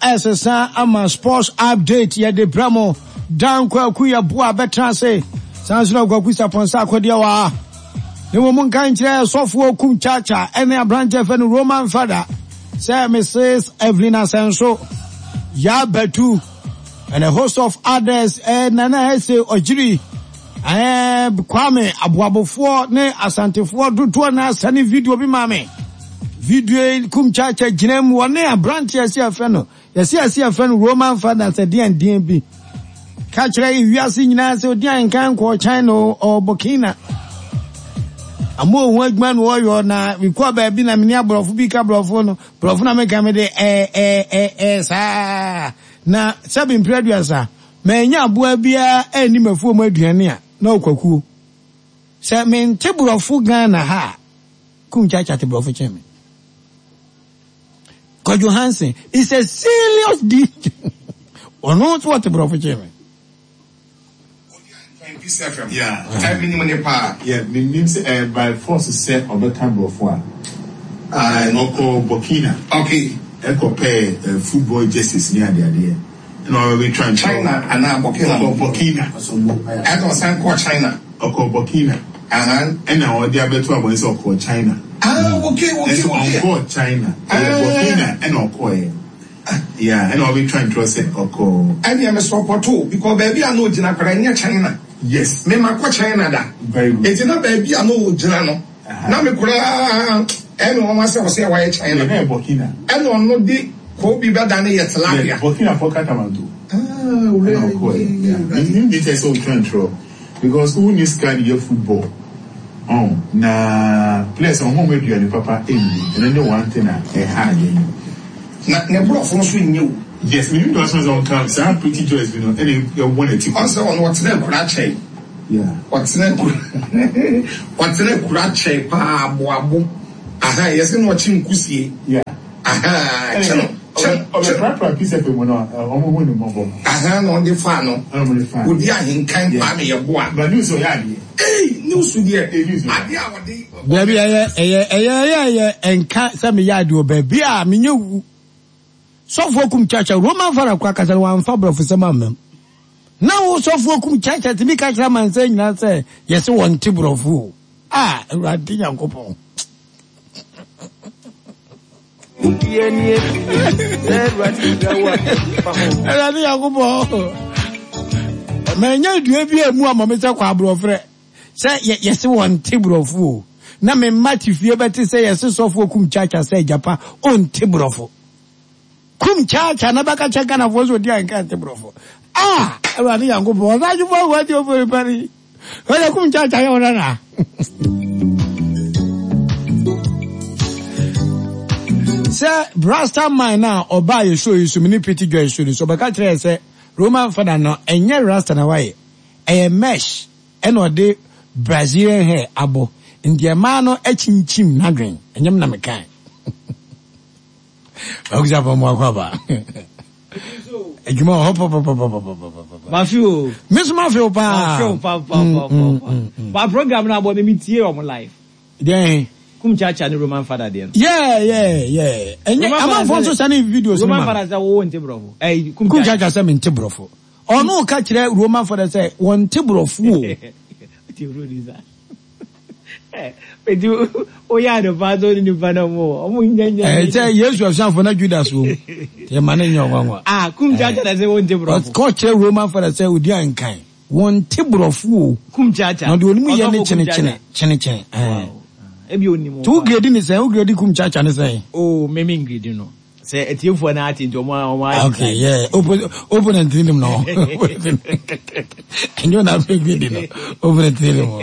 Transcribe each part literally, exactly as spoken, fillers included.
Ɛsesa ama sports update yɛde brɛ mo. Dan Kwaku Yeboah bɛtena ase. Saa nso na Kwaku Sapɔnsa akɔdeɛ wɔ ha. Ne mmom nka nkyerɛ sɔfoɔ Kum Chacha ɛne aberanteɛ fɛ no Roman Fada sɛ Missus Evelyn Asɛnso, Yaa Batu and a host of others, eh, Nana Hese Ɔgyiri, eh, Kwame Aboabofoɔ ne Asantefoɔ dodoɔ na asane video bi ma me. Video yi Kum Chacha gyina mu wɔne aberanteɛ sɛ yɛfrɛ no, yɛsɛ yɛsɛ yɛfrɛ no Roman Fada sɛ deɛn deɛn bi. Ka kyerɛ wiase nyinaa sɛ odi ankan kɔɔ China ɔ Burkina. Ama ohun adwuma na ɔyɔ na mekɔ baabi na mene aborɔfo bi ka borɔfo no, borɔfo na meka me de ɛ ɛ ɛ ɛ saa. Na sɛbi mpere aduasa, manya aboa biara ɛnni mafuo mu aduane a na ɔkwakuo. Sɛ mente borɔfo Ghana ha a, Kum Chacha te borɔfo kyɛn me. Kwadwo Hansen is a serious D J. Ɔno nso ɔte borɔfo kyɛn me. Peace F M. Yeah. Ɛ minim ne paa. Yeah, minim sɛ ɛ by force sɛ ɔbɛka borɔfo a. Ah, ɔkɔ Burkina. Okay. Ɛkɔ pɛ football jerseys ne adeadeɛ. Ɛna ɔbɛtwa nkyɛn. China anaa Burkina. Ɔkɔ Burkina. Ɛna ɔsan kɔ China. Ɔkɔ Burkina. Uh-huh. Ɛna ɔde abɛto abɔne sɛ ɔkɔ China. Ah, okay, okay, Ɛnso okay. ɔnkɔ China. Ɛyɛ Ah. Burkina ɛna ɔkɔɛ. Yeah, ɛna ɔbɛtwa ntorɔ sɛ ɔkɔ. Ɛna ɛmɛ sɔpɔtɔ because baabi a na ogyina koraa ɛnyɛ China. Yes. Me ma kɔ China da. Very good. Eti na baabi a na ogyina no. Uh-huh. Na me koraa ɛna wɔn asɛ ɔsɛ wɔayɛ China. Yeah, ɛyɛ Burkina. Ɛna ɔno de kobi bɛda ne yɛ tilapia. Yeah, Burkina fɔ Katamanto. Ah, Ɛna ɔkɔɛ. Yeah. Me me kyerɛ sɛ ɔtwa ntorɔ because who needs sika de yɛ football? Oh, na players ɔmo ɔmo aduane papa ɛnni. Ɛno ne one thing a ɛha adwene. Na ne borɔfo nso nyɛ o. Yes, me nim dɔsɔn sɛ ɔka saa Pretty Joyce bi no ɛna ɛwɔ n'akyi. Ɔsɛ ɔno ɔtena akura kyɛn. Yeah. Ɔtena akura ɔtena akura kyɛn paa aboabo. Aha, yɛsɛ na ɔkye nkusie. Yeah. Aha, kyɛ no. Kyɛ Ɔbɛ prapra Peace F M mu no, ɔmo hu ne mmɔbɔ. Aha, na ɔde fa no. Ɔmo de fa. Odi ahenkan Kwame Yeboah. But news ɔyɛ adeɛ. Hey, news deɛ. Hey, news. Adeɛ a ɔde. Baabi ɛyɛ ɛyɛ ɛyɛ ɛyɛ ɛyɛ nka sɛ meyɛ adeɛ wɔ baabi a menyɛ wu. Sɔfoɔ Kum Chacha Roman Fada kora kasa no wamfa borɔfo sɛm ammam. Na wo sɔfoɔ Kum Chacha tumi ka kyerɛ amansan nyinaa sɛ yɛse wɔnte borɔfo o. Ah, Awurade Nyankopɔn. Awurade Nyankopɔn. Manya dua bi a mu ama me sɛ kɔ aborɔfrɛ. Sɛ yɛse wɔnte borɔfo o. Na me mma te fie bɛte sɛ yɛse sɔfoɔ Kum Chacha sɛ gyapa ɔnte borɔfo. Kum Chacha na bɛka kyɛ Ghanafoɔ sɛ ɔdi anka nte borɔfo. Ah, Awurade Nyankopɔn, ɔsadwofoɔ awu ati ofori pari. Ɔyɛ Kum Chacha yɛ ɔna na. Sɛ Rasta man na ɔbaa yɛ show yi so, me ne Pretty Joy show ni so, ɔbɛka kyerɛ sɛ Roman Fada no ɛnyɛ Rasta na wayɛ. Ɛyɛ mesh ɛna ɔde Brazilian hair abɔ. Nti ɛmaa no akyinkyim n'adwen. Ɛnyɛ m na mekae. Ɔkusa fɔ mu akɔ aba. Adwuma wɔ hɔ pɔpɔpɔpɔpɔpɔpɔ. Mafi o. Me nso mafi o paa. Mafi o pa pa pa pa pa. Ba program na abɔ me mi tie ɔmo live. Deɛn? Kum Chacha ne Roman Fada deɛ no. Yeah, yeah, yeah. Ɛnyɛ amanfoɔ nso sane videos no Roman ma. Fada sɛ wo nte borɔfo. Ɛy Kum Kum Chacha sɛ mente borɔfo. Ɔno ka kyerɛ Roman Fada sɛ wɔnte borɔfo o. Ti producer. Eti o ya de pa so ni nipa na mo. Ɔmo nya nya. Eh, sɛ Yesu asuafo na Judas wɔ mu. Yɛ ma ne nyɛ ɔnwanwa. Ah, Kum Chacha na sɛ wɔnte borɔfo. Ɔkɔ kyerɛ Roman Fada sɛ odi ankan. Wɔnte borɔfo o. Kum Chacha. Na ɔde onim yɛ ne Ɔsɔfo Kum kyene Chacha. kyene kyene kyene. Eh. Ebi onim. To grade ni sɛn, wo grade Kum Chacha ne sɛn? Oh, me me grade no. Sɛ etiefoɔ na ate nti ɔmo ɔmo ayɛ. Okay, yeah. Oppo opponent ni no. Enyo na fe grade no. Opponent ni mo.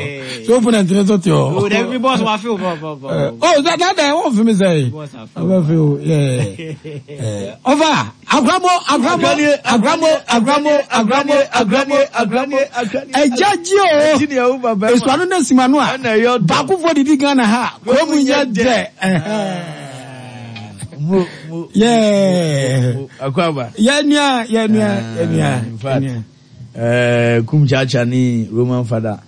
So opponent ni so te o. Oh, every boss wa feel bo bo bo. Oh, that that that one for me say. Boss a feel. Wa feel, yeah. Eh, over. Agramo, agramo, agramo, agramo, agramo, agramo, agramo, agramo. Ejaji o. Eji ni ewu baba. Esu anu na simanu a. Ana yo. Baako fo didi Ghana ha. Ko mu nya de. Mo mo. Yeah. Akwaba. Yeah, nia, yeah, nia, yeah, nia. In fact, eh, Kum Chacha ni Roman Fada.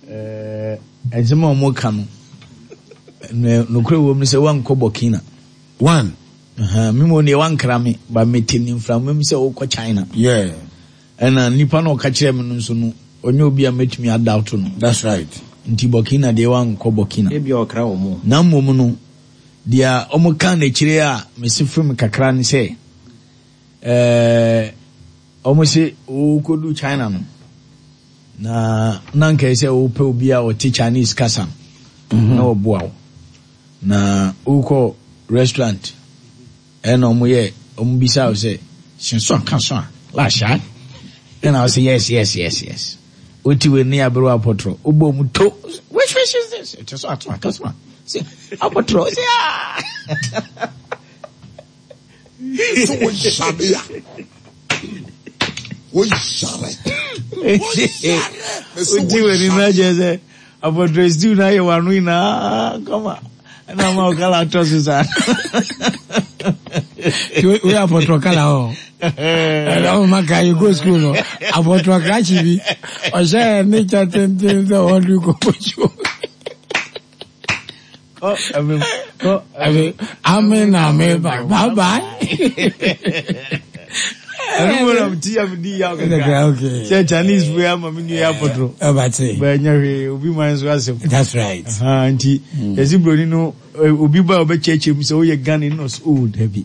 Eh, nsɛm a ɔmo ka no, no kure wɔ mu sɛ wankɔ Burkina. One. Aha, me mo deɛ wankra me ba mete ne mframa mu sɛ wokɔ China. Yeah. Ɛna nipa na ɔka kyerɛ me no nso no, ɔnyɛ obi a mɛtumi adoubt no. That's right. Nti Burkina deɛ wankɔ Burkina. Ebi ɔkra wɔ mu. Na mmom no, deɛ ɔmo ka n'akyire a mesi fam kakra ne sɛ, ɛɛ ɔmo se wokɔdu China no, na na nka sɛ wopɛ obi a ɔte Chinese kasa no na ɔboa wo. Na wokɔ restaurant ɛna ɔmo yɛ ɔmo bisa wo sɛ hyɛnso aka so a lahyɛ ɛna wo sɛ yes yes yes yes woti wei ne aberewa apɔtorɔ wobɔ mu to, which fish is this? Ɛkyɛ so ato aka so a sɛ apɔtorɔ sɛ ah. So wo yare a wo yare wo yare. Woti wei na kyerɛ sɛ apɔtorɔ stew na ayɛ w'ano nyinaa kama ɛna ama wo kala atɔ so saa. We apɔtorɔ kala hɔ. Ɛna ɔmo ma ka you go school no. Apɔtorɔ krakye bi. Ɔhyɛ ne kyɛ tenten sɛ ɔde kɔ kɔkyo. Kɔ ɛmɛ kɔ. Ɛbi ame na ame ba bye bye. Ɛno mu na ti ya mi di ya Okay, kakra. okay. Sɛ Chinese fo ya ma mi nua yɛ apɔtorɔ. Ɛbate. Bɛnyɛ hwee, obi man so asɛm. That's right. Aha, nti yɛsi broni no eh, obi ba a ɔbɛkyerɛkyerɛ mu sɛ woyɛ Ghana no, ɔsɛ oh dabi,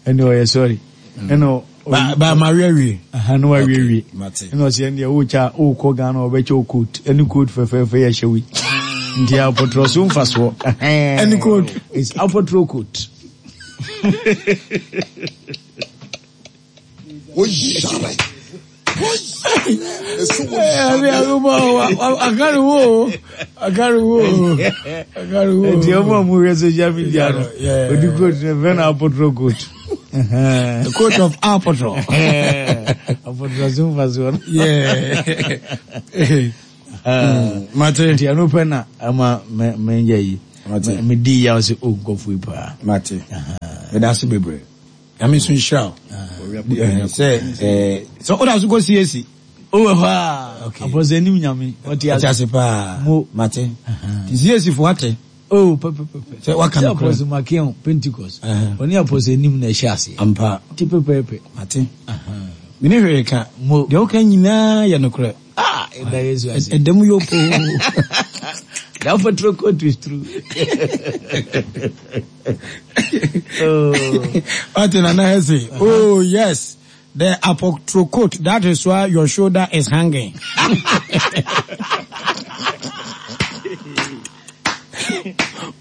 ɛna ɔyɛ sorry, ɛna Ba ba ma wie wie. Aha, na wawie wie. Mate. Ɛna ɔsɛ ɛndeɛ wokyɛ a wokɔ Ghana ɔbɛkyɛ wo coat, ɛne coat fɛfɛɛfɛ yɛ hyɛ wei, nti apɔtorɔ so mfasoɔ. Ɛne coat. It's apɔtorɔ coat. Wo yare wo yare so wo Ɛbi yare. agobɔ akari wo akari wo akari wo. Nti ɔmo a ɔmo hwɛ social media no, Yeah. odi coat no fɛ no apɔtorɔ coat. The coat of apɔtorɔ. Apɔtorɔ so mfasoɔ no. Yeah. Mate. Nti ɛno pɛ na ama mɛ mɛnyɛ yi. Mate. Me di yaw sɛ o nkɔfo yi paa. Mate. Meda ase bebree. Nyame nso nhyira wo. Eh, Sɛ eh, sɛ woda so kɔ C A C. O wɔ hɔ a. Okay. Apɔsɛ anim Nyame ɔte Ate ase. ase paa. Mo. Mate. Nti C A C fo ate. O pɛpɛpɛpɛ. Sɛ waka sɛ no korɛ. Apɔsɛ Makeon Pentecost. Ɛhɛn. Ɔne apɔsɛ anim na ɛhyɛ aseɛ. Ampa. Ti pɛpɛɛpɛ. Mate. Mene hwee ka. Mo. Deɛ woka nyinaa yɛ nokorɛ. Ah, ɛda Yesu ase. Ɛda mu yɛ poo. The apɔtorɔ coat is true. Oh. Ate Nana Hesse. Oh yes. The apotro coat. That is why your shoulder is hanging.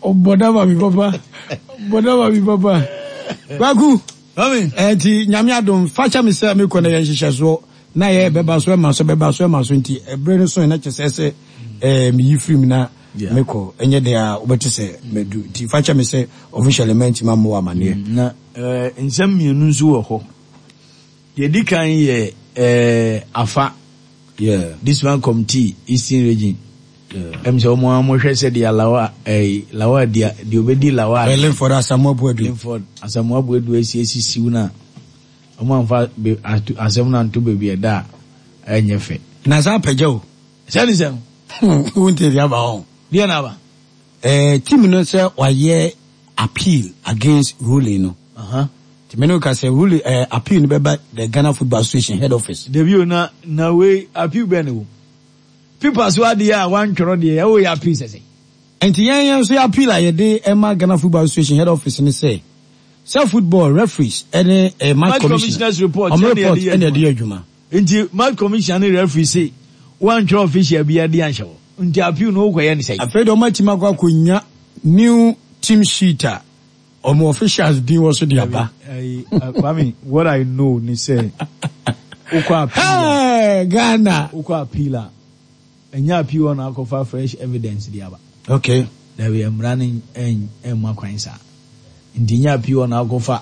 Ɔbɔda ma mi papa. Ɔbɔda ma mi papa. Kwaku. Mami. Ɛnti Nyame adom fakyɛ me sɛ mekɔ na yɛ nhyehyɛsoɔ na yɛ bɛba so ɛma so bɛba so ɛma so, nti ɛberɛ no so na kyɛ sɛ sɛ ɛɛ meyi firi mu na Yeah. mekɔ ɛnyɛ deɛ a wobɛte sɛ madu, nti fakyɛ me sɛ officially mantimi ammɔ wɔ amanneɛ. Na eh, nsɛm mmienu nso wɔ hɔ. Deɛ di kan yɛ eh, afa Yeah. this one committee, Eastern Region. Yeah. Ɛm sɛ ɔmo a mohwɛ sɛ deɛ lawa ɛyi lawa deɛ deɛ obɛdi lawa. Linford Asamoah Boadu. Linford Asamoah Boadu esi esisiw na ɔmo anfa be ato asɛm no anto baabi ɛda a ɛnyɛ fɛ. Na saa apagya o. Sɛni sɛm. Wonte deɛ aba hɔ. Deɛ na aba. Eh, team no sɛ wayɛ appeal against ruling no. Aha. Nti mene woka sɛ ruling eh, appeal no bɛba the Ghana Football Association head office. Dabi o, na na wei appeal bɛn ne wo pipa so adeɛ a wantwerɛ deɛ ɛwɔ yɛ appeal sɛsɛ. Nti yɛn yɛn nso yɛ appeal a yɛde ɛma Ghana Football Association head office ne sɛ sɛ football referees ɛne eh, match Match commissioner commissioners report ɔmo ɛna report yɛde yɛ ɛna yɛde adwuma. yɛ adwuma. Nti match commissioner ne referee se wantwerɛ official bi ade anhyɛ hɔ, nti appeal no wokɔyɛ ne sɛn? Afei deɛ ɔmo atumi akɔ akɔnya new team sheet a ɔmo officials din wɔ so de aba. Ayi, uh, Kwame, what I know ni sɛ wokɔ appeal a Hey, Ghana. Wokɔ appeal a, ɛnyɛ appeal hɔ na akɔfa fresh evidence de aba. Okay. Dabi, mmara no ɛn ɛmma kwan saa, nti nyɛ appeal hɔ na akɔfa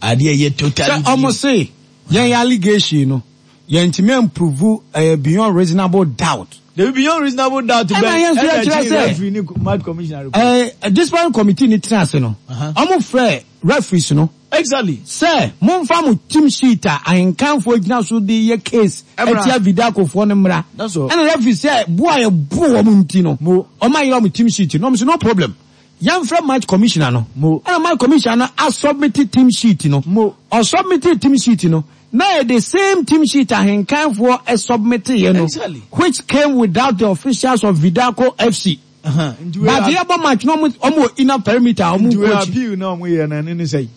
adeɛ ɛyɛ totally Sɛ ɔmo se yɛn yɛ allegation no yɛntumi improve ɛyɛ beyond reasonable doubt. Dabi, beyond reasonable doubt Ɛna bɛn yɛn nso ɛna yɛkyerɛ akyi sɛ- referee ne match commissioner report. Ɛɛ discipline committee ni tena ase no, Uh-huh. ɔmo frɛ referees no exactly sɛ momfa mo team sheet a ahenkanfoɔ gyina so de yɛ case Ɛmmra. ɛtia Vidakofoɔ no mmra. That's all. Ɛna referee sɛ bo a yɛbo wɔn nti no Mo. ɔmo ayɛ ɔmo team sheet no, ɔmo sɛ no problem, Yɛmfrɛ match commissioner no. Mo. Ɛna match commissioner no asubmit team sheet no. Mo. Ɔsubmit team sheet no. Na yɛ the same team sheet ahenkanfoɔ ɛsubmit yɛ no. Exactly. Which came without the officials of Vidaco F C. Uh-huh. Nti wei But yɛbɔ match no, ɔmo ɔmo wɔ inner perimeter a ɔmo nti wei kɔ akyi. Appeal na ɔmo yɛ na ɛne ne sɛ.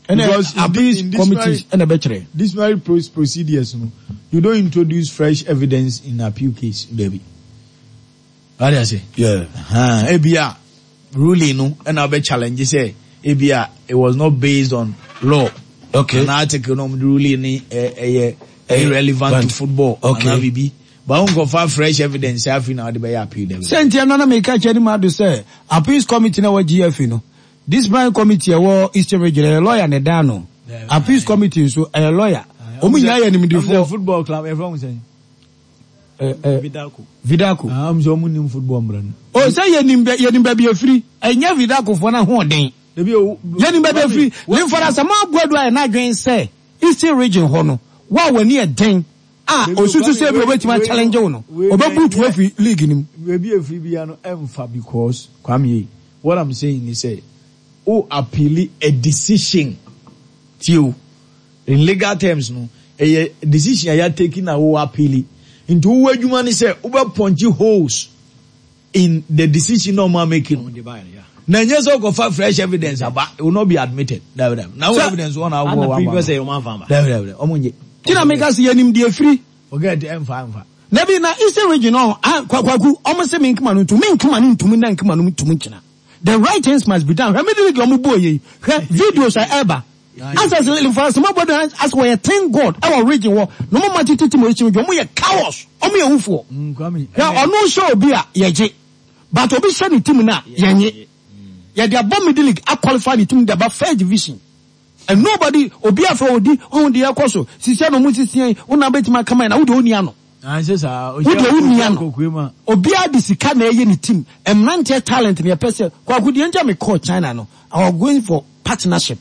Ɛna Because in appeals in committees disciplinary ɛna ɛbɛkyerɛ. Disciplinary pro- procedures no, you don't introduce fresh evidence in appeal case, baby. Wade ase? Yeah. Uh-huh. Ebia ruling no ɛna ɔbɛ challenge sɛ ebia it was not based on law. Okay. An article no ɔmo de ruling ni ɛ ɛyɛ irrelevant to football. Okay. Anaa bibi. But nkɔfa fresh evidence afi na ɔde bɛyɛ appeal dɛm. Sɛ nti ɛno na meka kyerɛ ne ado sɛ appeals committee na wɔ G F A no, disciplinary committee ɛwɔ Eastern Region ɛyɛ lawyer ne dan no. Appeals committee nso ɛyɛ lawyer. Ɔmo nyinaa yɛ nimdifoɔ. Football club ɛfɛ ɔmo sɛn? Ɛ ɛ Vidaco. Vidaco. Ah, ɔmo sɛ ɔmo nim football mbra no. O sɛ yɛnim bɛ yɛnim baabi efiri, ɛnyɛ Vidaco foɔ no ahoɔden. Ebi o. Yɛnim baabi efiri. Limford Asamoah Boadu ayɛ n'adwene sɛ Eastern Region hɔ no, wo a w'ani yɛ den a osusu sɛ ebi obetumi achallenge wo no, ɔbɛbutu afiri league no mu. Ebi efiri bia no ɛnfa because, Kwame yi, what I'm saying is sɛ o appeal a decision tie o, in legal terms no, ɛyɛ decision a yɛ take na wo appeal, nti wo adwuma ne sɛ wobɛ punch holes in the decision na ɔmo making, na nyɛ sɛ ɔkɔfa fresh evidence aba. It will not be admitted. Dabi dabi, na wo evidence wɔn na awɔ wɔn previous ɛyɛ ɔmo anfa dabi dabi, ɔmo nye. Tí na meka sɛ yɛnim deɛ efiri. Forget, ɛnfa ɛnfa. Nabi na Eastern Region no, Kwaku, ɔmo sɛ mi nkema no ntum, mi nkema no ntum na nkema no ntum nkyina. The right things must be done. Hwɛ mi de ɔmo bɔ yɛ, hwɛ videos a ɛba asɛ Limford Asamoah Boadu asɛ wɔyɛ thank God ɛwɔ region hɔ na ɔmo ma tete ti mo ekyi, ɔmo yɛ cowards, ɔmo yɛ wufoɔ. Hwɛ, ɔno hyɛ obi a yɛgye, but obi hyɛ ne team na yɛnye. Yɛde abɔ middle league, aqualify ne team de aba first division and nobody obi afɛ odi ɔhun deɛ ɛkɔ so sisi ɛna ɔmo sisi yɛn wɔn na bɛtumi akama yɛn na wode oni ano. Wode oni ano. Obiara de sika na ɛyɛ ne team. Mmeranteɛ talent na yɛpɛ sɛ Kwaku deɛ nti a mekɔɔ China no, I was going for partnership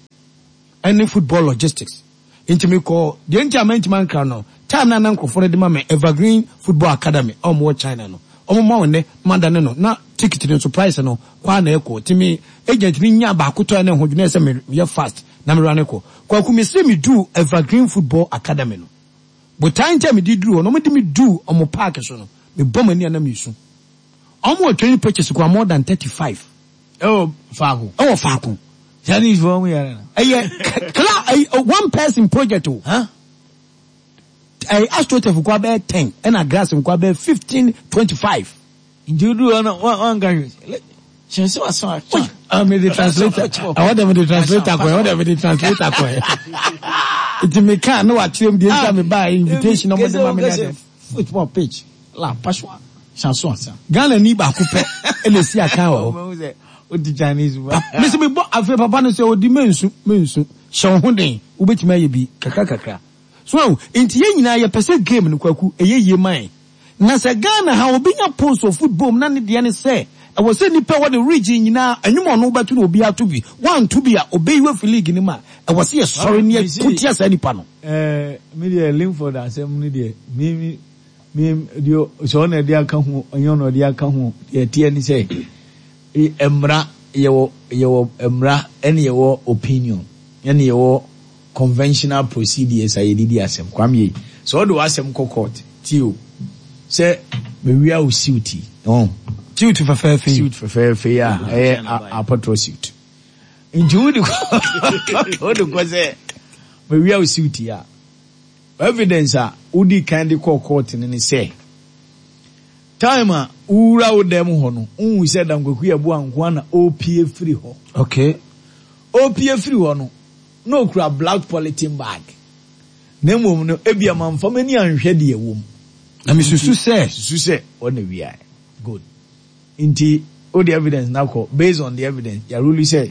ɛne football logistics, nti mekɔ deɛ nti a mɛntumi ankra no time na na nkurɔfoɔ no de ma me Evergreen Football Academy a ɔmo wɔ China no, ɔmo ma wɔn nɛ mada ne no na ticket no nso price no kɔ a na ɛkɔ nti me agent ni nya baako tɔ ɛne ho dwene sɛ meyɛ fast na mewura ne kɔ. Kwaku, me se me du Evergreen Football Academy no, botan nkyɛn me di duru hɔ no, ɔmo de me du ɔmo park so no, me bɔ m'ani anam esu. Ɔmo wɔ training pitches kɔ more than thirty five. Ɛwɔ faako. Ɛwɔ faako. Chinese fɔ ɔmo yɛrɛ na. Ɛyɛ kla ɛyɛ one person project o. Ɛyɛ astroturf kɔ abɛyɛ ten, ɛna grass nkɔ abɛyɛ fifteen, twenty five. Nti o duru hɔ no wɔn wɔn nka hwɛ hyɛn sɛ wasan atwa. Ah, me de translator, ɛwɔ dɛ me de translator kɔ, ɛwɔ dɛ me de translator kɔ. Nti me kan ne wa kyerɛ mu deɛ nti a me ba invitation na ɔmo de ma me na de. Football pitch la paswa sanso asa. Ghana ni baako pɛ ɛna esi akan wɔ hɔ. O ti Chinese ba. Mesi mi bɔ afei papa no sɛ odi mensu mensu, hyɛ wo ho den, wobɛtumi ayɛ bi kakra kakra so. Nti yɛn nyinaa yɛpɛ sɛ game no, Kwaku, ɛyɛ yie man. Na sɛ Ghana ha obi nya post of football mu na ne deɛ ne sɛ ɛwɔ sɛ nipa wɔ ne region nyinaa ɛnwom ɔno wobɛto na obi ato bi, wanto bi a obeyi wafi league no mu a, ɛwɔ sɛ yɛsɔre ne yɛko tia saa nipa no. Ɛɛ mi deɛ, Linford asɛm no deɛ, mi mi mi deɛ, sɛ ɔna ɛde aka ho, ɔnyɛ ɔna ɔde aka ho deɛ, ɛteɛ ne sɛ mmara yɛwɔ yɛwɔ mmara, ɛne yɛwɔ opinion, ɛne yɛwɔ conventional procedures a yɛde di asɛm. Kwame yi, sɛ ɔde w'asɛm kɔ court tie o, sɛ mewia wo suit yi ɔn Suit fɛfɛɛfɛ yi. Suit fɛfɛɛfɛ yi a ɛyɛ apɔtɔ suit, nti wode kɔ wode kɔ sɛ mewia wo suit yi a, evidence a wodi kan de kɔɔ court no ne sɛ time a wowura wo dɛm hɔ no, wohu sɛ Dankwaku yɛ boa nko a na ɔpie firi hɔ. Okay ɔpie firi hɔ no na okura black polythene bag, na mmom no ebia mamfa m'ani anhwɛ deɛ ɛwɔ mu. Na mesusu sɛ susu sɛ ɔna wia. Good, nti o de evidence na kɔ. Based on the evidence, yaruli sɛ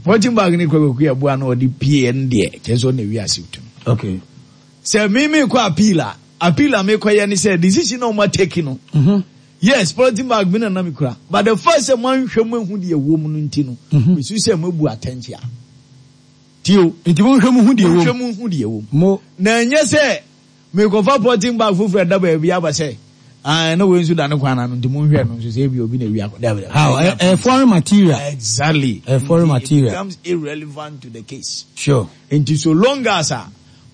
polythene bag ne Kwaku yɛ boa na ɔde pie ɛno deɛ, kyerɛ sɛ ɔna wia suit no. Okay sɛ mímí kɔ appeal a, appeal a mi kɔ yɛ ni sɛ decision na ɔmo atake no, mm-hmm. yes, polythene bag mi na na mi kura, but the first sɛ mo anhwɛ mo ehu deɛ ɛwɔ mu no nti no, mesu sɛ mo ebu atɛnkyea tie o. Nti monhwɛ mu hu deɛ mo wɔ nhwɛ mu. Mo hu deɛ ɛwɔ mu. Mo Na nyɛ sɛ mekɔfa polythene bag foforɔ ɛda baabi aba sɛ Ah, na wei nso da ne kwan ano nti monhwɛ no nso sɛ ebi obi na ewi akɔ. Dabi dabi. How? A, a foreign material. Exactly. A foreign Nti material. It becomes irrelevant to the case. Sure. Nti so long as a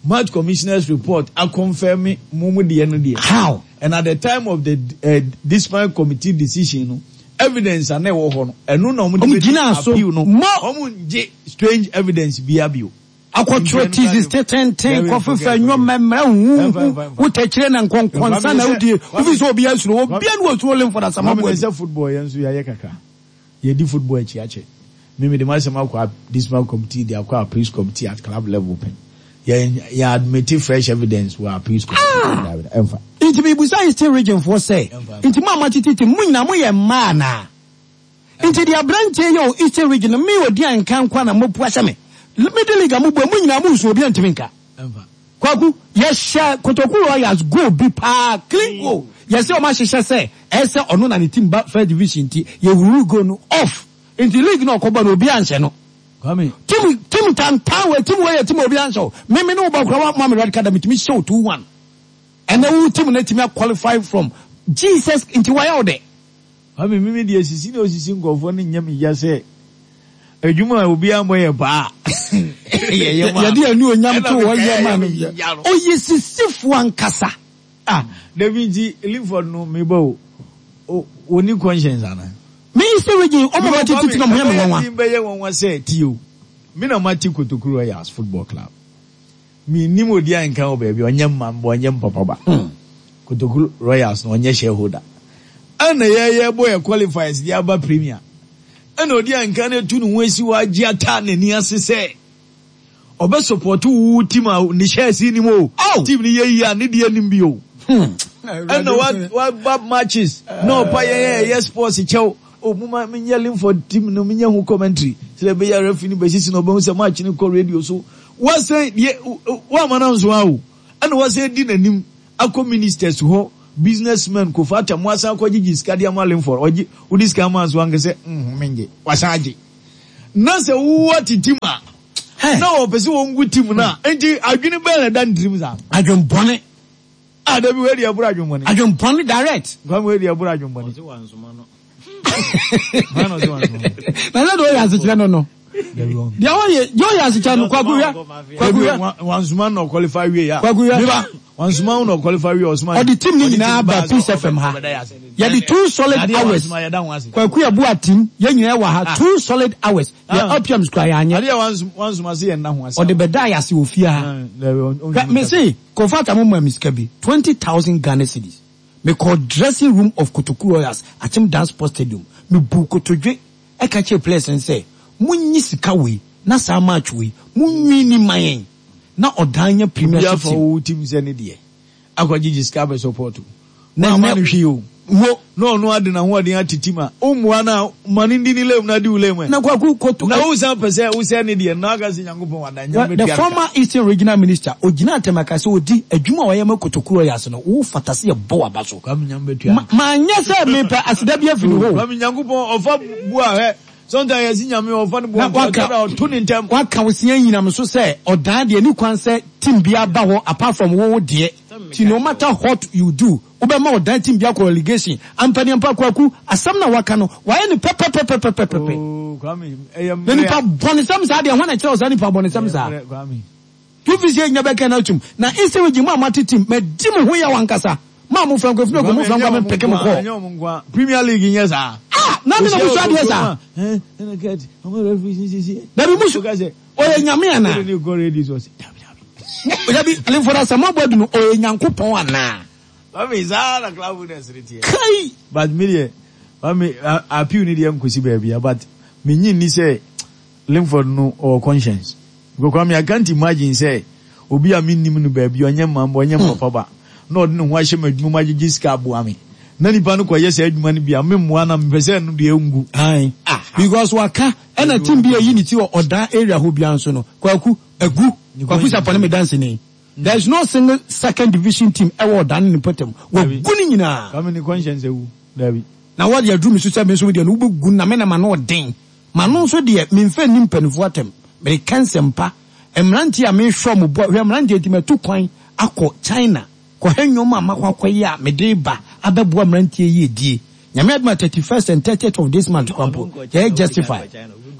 match commissioner's report a confirm mo mo deɛ no deɛ. How? And at the time of the uh, discipline committee decision no, evidence a na ɛwɔ hɔ no, ɛno na wɔn de Wɔn bɛdi gyina so. appeal no. Mo. Wɔn ngye strange evidence bia bio. Akɔtwerɛ thesis tententen kɔfefa nnwoma mmerɛ huhu wotɛkyerɛ na nkɔnkɔnsa na wodie wofi sɛ obi asuro obia ne wɔsuro Lemford Asamoah Kwame Boadu. sɛ football yɛn nso yɛayɛ kakra. Yɛdi football akyi akyɛ. Me mede m'asɛm akɔ discipline committee de akɔ appeals committee at club level pɛn. Yɛn yɛn admit fresh evidence wɔ appeals committee. Ɛmfa. Nti mebusa Eastern Region foɔ sɛ nti mo a moatete team mo nyinaa moyɛ mmaa anaa? Nti deɛ aberanteɛ yɛ wɔ Eastern Region no me odi a nka nko na mopu ahyɛ me. Middle League a mobɔ mo nyinaa mo nsuo obi antumi nka. Ɛmfa. Kwaku yɛhyɛ Kotoku Royals goal bi paa clean goal yɛsɛ ɔmo ahyehyɛ sɛ ɛsɛ ɔno na ne team ba first division nti yɛwuru goal no off nti league na ɔkɔbɔ no obi anhyɛ no. Kwame. Team team tantan wɔ team wɔ yɛ team obi anhyɛ o mímí ne wo bɔ kura wa ma mi red card mi tumi hyɛ o two one ɛnna wo team na tumi qualify from Jesus nti wayɛ o dɛ. Kwame mimi deɛ sisi na osisi nkɔfoɔ no nyɛ me ya sɛ adwuma a obiara mbɔ yɛ paa. Yɛde ani onyam to hɔ yɛ ma no oyɛ sisifoɔ ankasa. Ah, David nti Linford no mebɔ o oni conscience ana. Me Eastern Region ɔmo ma tete ti na ɔmo yɛ me nwanwa. Bɛyɛ nwanwa sɛ tie o. Me na mate Kotoku Royals football club. Me nim odi a nka wɔ baabi ɔnyɛ mma mbɔ ɔnyɛ mpapa ba. Kotoku Royals no ɔnyɛ shareholder. Ɛna yɛyɛ bɔ yɛ qualifiers de aba premier. Ɛna odi a nka no etu ne ho esi hɔ agye ata n'ani ase sɛ ɔbɛ support wo team a ne shares nim o. Team ni yɛ yie a ne deɛ nim bi o. Ɛna wa wa ba matches na ɔpa yɛn yɛ yɛ sports kyɛw. O mo ma me nyɛ Linford team no me nyɛ ho commentary. Sɛ ɛbɛyɛ referee ni bɛsisi na ɔbɛhu sɛ match ni kɔ radio so. Wɔsɛn deɛ wɔama na nso awo. Ɛna wɔsɛn di n'anim akɔ ministers hɔ businessmen kofa ata mo asan akɔ gyegye sika de ama Linford ɔgye wodi sika ama nso ankasɛ nhun mengye wasan agye. Na sɛ wowɔ te team a na wɔpɛ sɛ wɔn gu team na nti adwene bɛn na ɛda ne tirim saa. Adwenbɔne. Ah, dabi wei deɛ ɛboro adwenbɔne. Adwenbɔne direct. Kwame wei deɛ ɛboro adwenbɔne. Na sɛ deɛ ɔyɛ asekyerɛ no no. Deɛ ɔyɛ deɛ ɔyɛ asekyerɛ no Kwaku hwɛ. Kwaku hwɛ. Wansoma na ɔqualify wie ya. Kwaku hwɛ. Miba wansoma na ɔqualify wie ɔsoma. Ɔde team ne nyinaa ba Peace F M ha. Yɛde two solid hours. Kwaku yɛ bu atim yɛn nyinaa wɔ ha two solid hours. Yɛ L P Ms kura yɛ anyɛ. Adeɛ wansoma se yɛn na ho ase. Ɔde bɛda yɛ ase wɔ fie ha. Me se Kofa Atamu ma mi sika bi twenty thousand Ghana cedis. Me kɔ dressing room of Kotoku Royals Akyem Dance Sports Stadium. Me bu kotodwe ɛka kyerɛ players n sɛ munyi sika wei na saa match wei munwi ni ma yɛn na ɔdan nya premiership team. Obi afa wo team sɛ ne deɛ akɔgyegye sika bɛ support o. Na ama no hwee o. Wo na ɔno ade na hoɔden ate team a ɔmmua na ma ne ndi ne lem na di wo lem ɛ. Na Kwaku Koto. Na wo san pɛ sɛ wo sɛ ne deɛ na aka sɛ Nyankopɔn wada nyame The former Eastern Regional Minister ogyina atɛm aka sɛ odi adwuma a ɔyɛ ma Kotoku Royals no wo fata sɛ yɛbɔ waba so. Kwame Nyame bɛtua. Ma nyɛ sɛ mepɛ aseda bi afiri hɔ. Kwame Nyankopɔn ɔfa bu a hɛ. Sometimes yɛsi Nyame ɔfa no bu a ɔto ne ntɛm. Waka wo sia nyinam so sɛ ɔdan deɛ ne kwan sɛ team bi aba hɔ apart from wo deɛ. Ti no matter what you do, wobɛma ɔdan team bi akɔ relegation. Ampani ampa Kwaku asɛm na waka no wayɛ ne pɛpɛpɛpɛpɛpɛ. Oh Kwame ɛyɛ Na nipa bɔnesɛm saa deɛ hɔ na kyerɛ wo saa nipa bɔnesɛm saa. Tufi sɛ nya bɛka na atum. Na Eastern Region mu a mate team madi mo ho yɛ wankasa. Ma mo fra nkwa firi mo fra nkwa me peke mo kɔ. Premier League nyɛ saa. Ah, na me na mo so adeɛ saa. Eh, na ket, ɔmo referee si si si. Dabi musu. Ɔyɛ nyame ana? Dabi Linford Asamoah Boadu no ɔyɛ Nyankopɔn ana? Kwame saa na club owners ne teɛ. Kai. But me deɛ, Kwame appeal ni deɛ nkosi baabi but me nyi ni sɛ Linford no ɔwɔ conscience. Because Kwame I can't imagine sɛ obi a me nim no baabi ɔnyɛ mma ɔnyɛ papa ba. Na ɔde ne ho ahyɛ m'adwuma mu agyegye sika aboa me. Na nipa no kɔyɛ sɛ adwuma no bi a me mmoa na mepɛ sɛ no deɛ ngu. Aye. Because waka ɛna team bi ayi ne ti wɔ ɔdan area hɔ bia nso no. Kwaku agu. Kwaku sapɔ ne me dance ni. There is no single second division team ɛwɔ ɔdan ne pɔtɛm. Wagu ne nyinaa. Kwame ne conscience awu. Dabi. Na wɔde aduru me so sɛ me nso deɛ no wobɛgu na me na ma no ɔden. Ma no nso deɛ memfa nni mpanimfoɔ atɛm. Mereka nsɛmpa. Mmeranteɛ a mehwɛ mo boa hwɛ mmeranteɛ nti matu kwan akɔ China. Kɔhwɛ nnwom a makɔ akɔyɛ a mede ba abɛboa mmeranteɛ yie die. Nyame adom a thirty first and thirtieth of this month kora mpo yɛyɛ justify.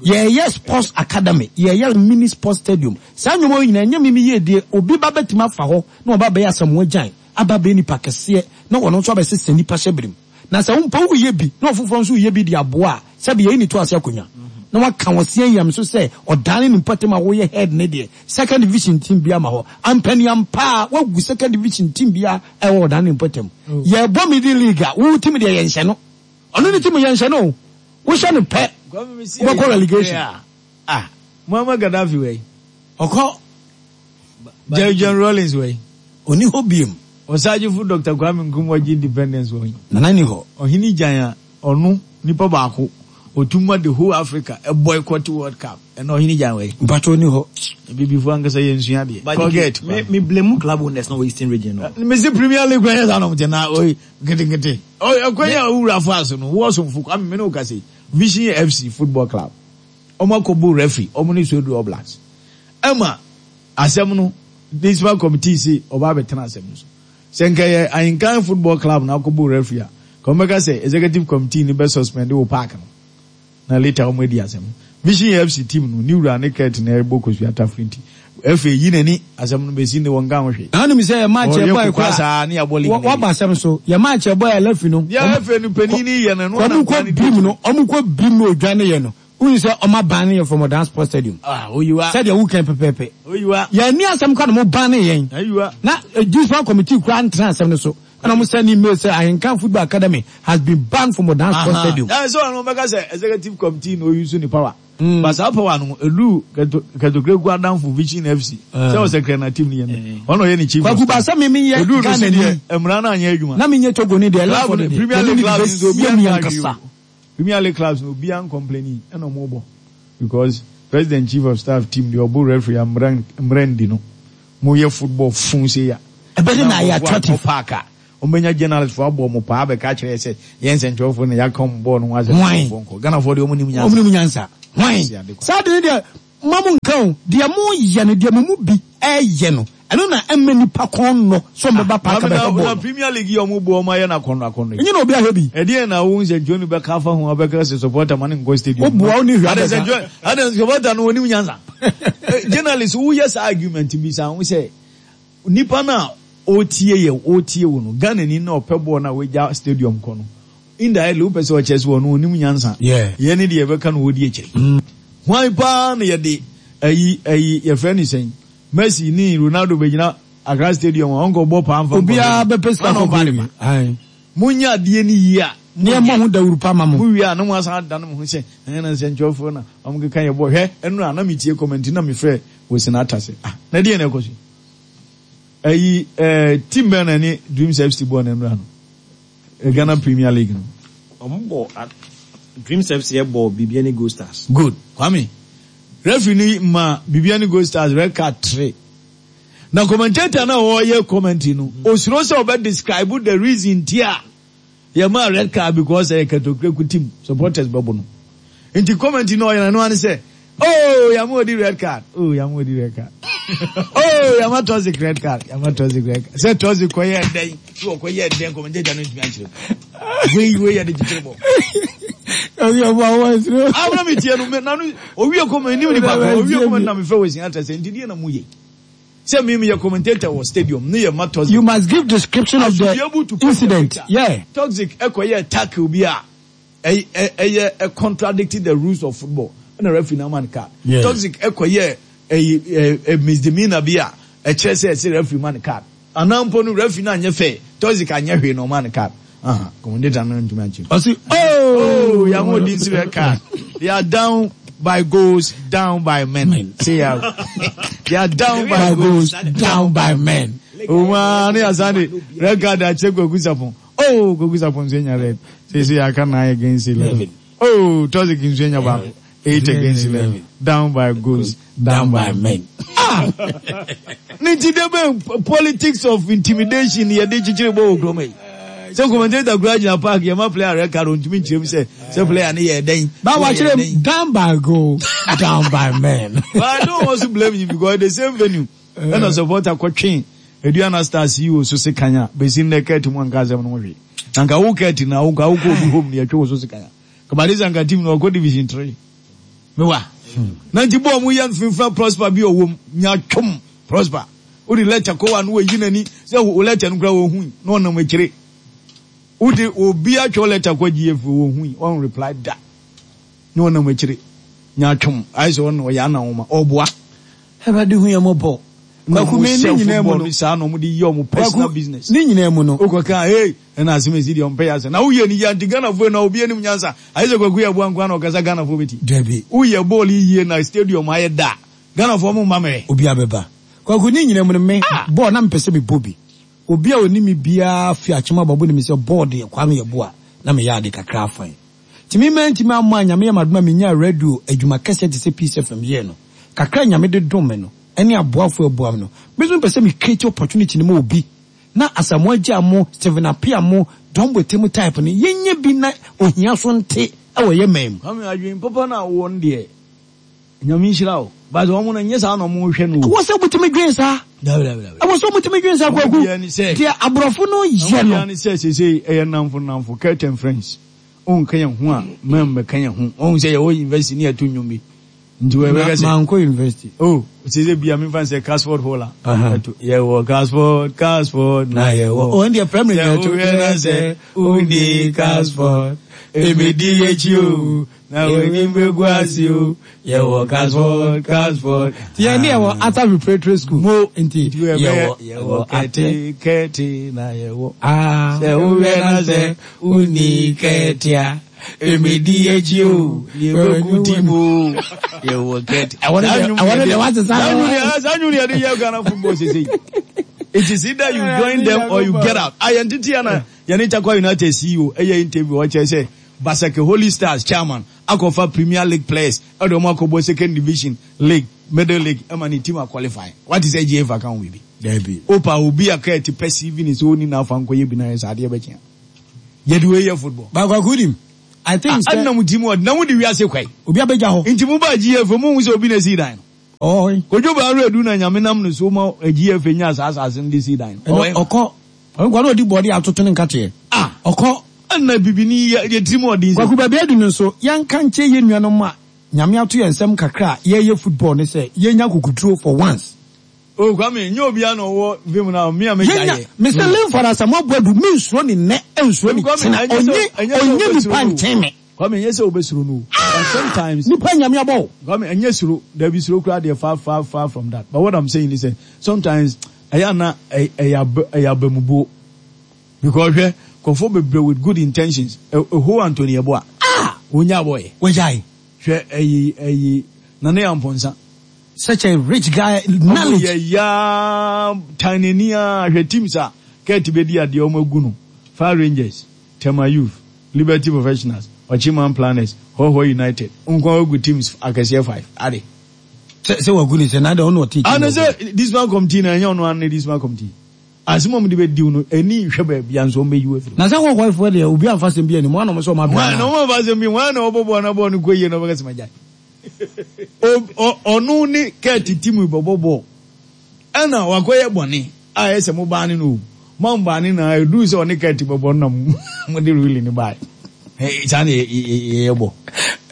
Yɛyɛ sports academy, yɛyɛ mini sports stadium. Saa nnwuma yi nyinaa ɛnyɛ mimi yie die. Obi ba bɛtumi afa hɔ na ɔba bɛyɛ Asamoah Gyan, aba bɛyɛ nipa kɛseɛ na ɔno nso abɛsesa nipa hyɛ birim. Na sɛ wo mpo woyɛ bi na ɔfoforɔ nso woyɛ bi de aboa a, sɛbi yɛyi ne to ase akonnwa. Na waka wɔ seɛ yam so sɛ ɔdane ne mpɔtam a woyɛ head ne deɛ second division team bi ama hɔ. Ampaniampa a wagu second division team bi a ɛwɔ ɔdane ne mpɔtam. Yɛbɔ middle league a wo team deɛ yɛnhyɛ no. Ɔno ne team yɛnhyɛ no o. Wohyɛ no pɛ wobɛkɔ relegation. Ah, Muammar Gaddafi wei. Ɔkɔ. Jerry John Rawlings wei. Oni hɔ biem. Ɔsagyefo Doctor Kwame Nkrumah gye independence wɔ he. Nana ni hɔ. Ɔhene Gyan a ɔno nipa baako otum the whole Africa a boycott World Cup. Ɛna ɔhene Gyan wei. Mpatwa oni hɔ. Bibifo ankasa yɛ nsua deɛ. Forget. Me me blame club owners na wɔ Eastern Region no. Me si Premier League kwan yɛ saa na ɔmo te na oyi nketenkete. Ɔyɛ kwan yɛ owura fo aso no wɔsomfo Kwame me ne wo kase Vision F C Football Club. Ɔmo akɔbɔ referee ɔmo ne Swedru All Blacks. Ɛma asɛm no discipline committee si ɔba abɛtena asɛm no so. Sɛ nka yɛ Ahinkan Football Club na akɔbɔ referee a, ka ɔmo bɛka sɛ executive committee ni bɛ suspend wɔ park no. Na later ɔmo adi asɛm. Vision F C team no ni wura ne kɛt na ɛbɔ kosua tafiri nti. F A yi n'ani asɛm no bɛsi ne wɔn ka ho hwee. Na ɔnim sɛ yɛ match Ɔyɛ ɛbɔ kokwa ɛkora. saa ne yɛabɔ league Wɔ- no wɔaba asɛm so. Yɛ match ɛbɔ yɛ left no. Yɛ F A no panin ni yɛ no, ɛno Ɔmo na kɔ nkwa ne brim di no, ɔmo kɔ brim no odwa ne yɛ no. Wohu sɛ ɔmo aban ne yɛ from Odan Sports Stadium. Ah, oyiwa. Sɛdeɛ wokan pɛpɛɛpɛ. Oyiwa. Yɛn ni asɛm kora na mo ban ne yɛn. Ayiwa. Na, eh, discipline committee kora ntena asɛm no so. Ɛna ɔmo send email sɛ Ahinkan Football Academy has been banned from Odan Sports Stadium. Ɛɛ, sɛ ɔno bɛka sɛ executive committee na oyi so ni power. Mm. But saa power no, elu Keto-, Ketokreko Adamfo Vision F C. Eh. Sɛ ɔsɛ kra na team ni yɛn. Ɔno ɔyɛ ne chief of Kwaku staff. Ba, sɛ me, me yɛ Elu no Ghana si ni. deɛ, mmara no anyɛ adwuma. Na me nyɛ Togo ni deɛ, Club left for no, the Premier deɛ. League Yɛde ne clubs bɛsi nso, obiara yɛn nka ankasa. hwee o. Premier League clubs no, obiara ncomplaini, ɛna ɔmo bɔ. Because president chief of staff team deɛ ɔbɔ referee a mmara, mmara ndi no. Mo yɛ football fun se ya. Ɛbɛde na ayɛ Na attractive. park a. Ɔmbɛnya journalist fo abɔ ɔmo paa bɛka kyerɛ sɛ yɛn nsɛntwerɛfoɔ na yɛaka ɔmo bɔɔl no ho asɛm. Hwan? Ɔmo nkɔ. Ghanafoɔ deɛ ɔmo nim nyansa. Ɔmo nim nyansa. Hwan? Ɔmo nim Saa de ne deɛ, mo mo nka o, deɛ mo yɛ no, deɛ mo mu bi ɛyɛ no, ɛno na ɛmɛ nipa kɔn nɔ sɛ ɔmo bɛba park Ah, abɛhwɛ na bɔɔl no. Premier League yi ɔmo bɔ ɔmo ayɛ no akɔnnɔ akɔnnɔ yi. Ɛnyɛ na obi ahwɛ bi. Ɛdeɛ na wo nsɛntwerɛni bɛka afa ho abɛka sɛ supporter ma ne nkɔ stadium. Wo boa wo ne hwɛ Ade abɛka. nsɛntwerɛ, ade supporter no onim nyansa. Eh, journalist, woyɛ saa argument bi saa, wo sɛ nipa na otie yɛ, otie wo no, Ghana ni na ɔpɛ bɔɔl na wagya stadium kɔ no. Indirectly, wopɛ sɛ ɔkyerɛ sɛ ɔno onim nyansa. Yeah. Yɛn ne deɛ yɛbɛka no wɔdi akyire. Mm. Hwan paa na yɛde ayi, ayi, yɛfrɛ ne sɛn? Messi ni Ronaldo bɛgyina Accra Stadium a ɔnkɔ bɔ paa mfa nkɔ Obiara hɔ. bɛpɛ sika Ɔno kɔ ɔba ne bi. ba. Aye. Munya adeɛ ni yie a, Ne ɛmɔ ho dawuru pa ma mo. Mo wie a, na mo asan adane mo ho sɛ, ɛnyɛ na nsɛntwerɛfoɔ na ɔmo keka yɛ bɔ. Hwɛ, ɛno a, na metie comment na mefrɛ wɔ Senata sɛ, ah, na deɛ na ɛkɔ so yi? Ayi, eh, team bɛn na ne Dreams F C bɔɔ na nnura no? Eh, Ghana Premier League no. Ɔmo bɔ, ah, Dreams F C bɔ Bibiani Gold Stars. Good. Kwame, referee ni ma Bibiani Gold Stars red card three. Na commentator na ɔyɛ commentary no, osuro sɛ ɔbɛ describe the reason tia yɛ ma red card because ɛyɛ Ketokreko team supporters bɛbɔ no. Nti commentary na ɔyɛ no ano sɛ, oh, yɛ ma odi red card. Oh, yɛ ma odi red card. Oh, yɛ ma Toxic red card. Yɛ ma Toxic red card. Sɛ Toxic kɔ yɛ dɛn, sɛ ɔkɔ yɛ dɛn, commentator no ntumi ankyerɛ. Wei, wei yɛ de kyekyere bɔ. Ɔyɛ ɔbɔ awɔ ɛsoro. Abena mi tie no, me, na no, owie comment, ni nipa ko, owie comment na mi fɛ wɔ si ata sɛ, nti deɛ na mu yɛ. Sɛ mi, mi yɛ commentator wɔ stadium, ne yɛ ma Toxic. You must give description of I should the be able to put the incident. picture. Yeah. Toxic ɛkɔ yɛ tackle bi a, ɛ, ɛ, ɛyɛ, ɛ, contradicting the rules of football. Ɛna referee na man card. Yeah. Toxic ɛkɔ yɛ, ɛ, ɛ, ɛ, misdemeanor bi a, ɛkyerɛ sɛ ɛsɛ referee man card. Anaa mpo no referee na anyɛ fair. Toxic anyɛ hwee na ɔman card. Aha, commentator no ntumi akyerɛ. Ɔsi, oh, Oh, yɛn mo di nsi red card. They are down by goals, down by men. Men. Say ya. They are down by, By goals, goals, down by men. Oh man, ne asane red card akyɛ Kwaku Sapon. Oh, Kwaku Sapon nso nya red. Say say aka nine against eleven. Oh, Toxic nso nya baako. Eight against eleven. Down by goals, down, down by by men. Ah! Nti de be politics of intimidation ye de chichiri bo okrom yi. Sɛ commentator kura gyina park yɛ ma player red card ontumi nkyerɛ mu sɛ, sɛ player ne yɛ dɛn. Ba wa kyerɛ mu, down by goal, down by men. But I don't also blame you because the same venue. Ɛna supporter kɔtwe Aduana Stars yi wɔ so se kanya besi nnɛ kɛɛte mu anka asɛm no ho hwee. Na nka wo kɛti na wo nka wokɔ obi home ne yɛtwe wo so sika ya. Kabade sɛ nka team no ɔkɔ division three. Mewa. Na nti bɔɔ mu yɛ mfimfini Prosper bi ɔwɔ mu nya twom Prosper. Wode letter kɔ wa no wayi n'ani sɛ wo letter no kora wɔhui na ɔnam akyire. Wode obi atwerɛ letter kɔ G F A wɔhui ɔn reply da. Na ɔnam akyire nya twom ayɛ sɛ ɔno ɔyɛ anawoma ɔboa. Awurade hu yɛn mmɔbɔ. Kwaku me ne nyinaa mu no saa na ɔmo de yɛ ɔmo personal business. Ne nyinaa mu no. Wokɔ kan hey ɛna asɛm esi deɛ ɔmpɛ yɛ asɛm na woyɛ ne yie nti Ghanafoɔ na obi anim nyansa ayɛ sɛ Kwaku yɛ boa nkoa na ɔkasa Ghanafoɔ bɛti. Dabi. Woyɛ bɔɔl yie na stadium ayɛ da Ghanafoɔ mo mma mɛ. Obi abɛba. Kwaku ne nyinaa mu no me bɔɔl na mepɛ sɛ mebɔ bi. Obi a onim me biara fi akyem ababo ne me sɛ bɔɔl deɛ Kwame yɛ boa na meyɛ ade kakra afan. Timi mɛ ntimi ammɔ a Nyame yɛ m'adom a menya radio adwuma kɛseɛ te sɛ Peace F M yɛɛ no. Kakra Nyame de dom me no ɛne aboafo aboa me no. Me nso mepɛ sɛ me create opportunity no ma obi na Asamoah Gya mo, Stephen Appiah mo, Don Bote mo type no yɛnyɛ bi na ohia so nte ɛwɔ yɛ man mu. Kwame adwene papa na wɔ no deɛ Nyame nhyira wo. But wɔn no nyɛ saa na wɔn hwɛ no. Ɛwɔ sɛ wotumi dwen saa. Dabi dabi dabi. Ɛwɔ sɛ wotumi dwen saa Kwaku. Deɛ aborɔfo no yɛ no. Wɔn sɛ sese ɛyɛ namfo namfo Curtain friends. Wɔn ka yɛn ho a mɛn bɛka yɛn ho. Wɔn sɛ yɛwɔ university ne yɛto nnwom bi. Nti wɔ ɛbɛka sɛ. Mankɔ university. Oh sese bia mi fa sɛ Casford Hall a. Yɛwɔ Casford Casford na yɛwɔ. Wɔn deɛ primary na yɛto. Sɛ wohwɛ na sɛ wonni Casford emedi akyi o. Na w'anim bɛgu ase o. Yɛwɔ Casford Casford. Yɛn ne yɛwɔ Arthur Preparatory School. Mo nti yɛwɔ yɛwɔ kɛte kɛte na yɛwɔ. Ah. Sɛ wohwɛ na sɛ wonni kɛte a emedi akyi o. Yɛbɛgu ti mu o. Yɛwɔ kɛte. Ɛwɔ ne deɛ ɛwɔ ne deɛ wate saa. Saa nwuni yɛde yɛ Ghana football sese. It is either you join them or you get out. Ayɛ ntete ya na yɛne Tarkwa United C E O ɛyɛ interview ɔkyerɛ sɛ Basake Holy Stars chairman akɔfa Premier League players ɛde ɔmo akɔbɔ second division league middle league ɛma ne team aqualify. What is G F A ka ho bibi? Dabi. Opa obi aka ɛte pɛ C V ne sɛ oni na afa nkɔyɛ bi na yɛ saa adeɛ bɛkyea. Yɛde wei yɛ football. Baako akudim. I think sɛ ɛnna mo ti mu ɔde na mo de wiase kwae. Obi abɛgya hɔ. Nti mo ba G F A mo hu sɛ obi na esi dan no. Ɔhɔ. Kojo Baaro Edu na Nyame nam ne so ma G F A nya saa asase no de si dan no. Ɔhɔ. Ɔkɔ. Ɔnkɔ na ɔdi bɔde atoto ne nkateɛ. Ah. Ɔkɔ. Ɛnna bibini yɛ yɛ tiri mu ɔden sɛ. Kwaku baabi adu no nso yɛnka nkyɛn yɛn nuanom a Nyame ato yɛn nsɛm kakra a yɛyɛ football ne sɛ yɛnya kukuduro for once. Oh Kwame, nye obi a na ɔwɔ vim na me a me gya yɛ. Mese Lemford Asamoah Boadu me nsuro ne nnɛ nsuro ne kyena onye onye nipa nkyɛn me. Kwame nye sɛ obesuro no. But sometimes nipa Nyame abɔ wo. Kwame enye suro, da bi suro kura deɛ far far far from that. But what I'm saying is that sometimes ɛyɛ na ɛyɛ ɛyɛ abamubuo. Because hwɛ kɔfo bebree with good intentions. Eho Anthony Eboa. Ah! Wonya boy. Wagyae. Hwɛ ɛyi ɛyi Nane Amponsa. Such a rich guy, knowledge. Omo yɛ ya tiny ni a hwɛ teams a kɛti bɛ di adeɛ ɔmo agu no. Fire Rangers, Tema Youth, Liberty Professionals, Ochiman Planners, Hohoe United. Nkwa agu teams akɛseɛ five. Ade. Sɛ sɛ wagu ne sɛ na de ɔno ɔte. Ano sɛ this man committee na ɛnyɛ ɔno ano ne this man committee. Asɛm a ɔmo de bɛ diw no ɛni nhwɛ baabi a nso ɔmo bɛ yi wo afiri. Na sɛ Hohoe foɔ deɛ obi amfa asɛm bi anim wɔn na ɔmo sɛ ɔmo abira. Wɔn na ɔmo amfa asɛm bi wɔn na ɔbɔ bɔɔl na bɔɔl no kɔ yie na ɔbɛka sɛ ma gyae. Ɔno ne kɛɛte team bɔbɔ bɔɔl ɛna wakɔyɛ bɔne a ɛyɛ sɛ mo baa ne no mo baa ne na edu sɛ ɔne kɛɛte bɔbɔ no na mo de ruling ne baa saa na yɛyɛ bɔ.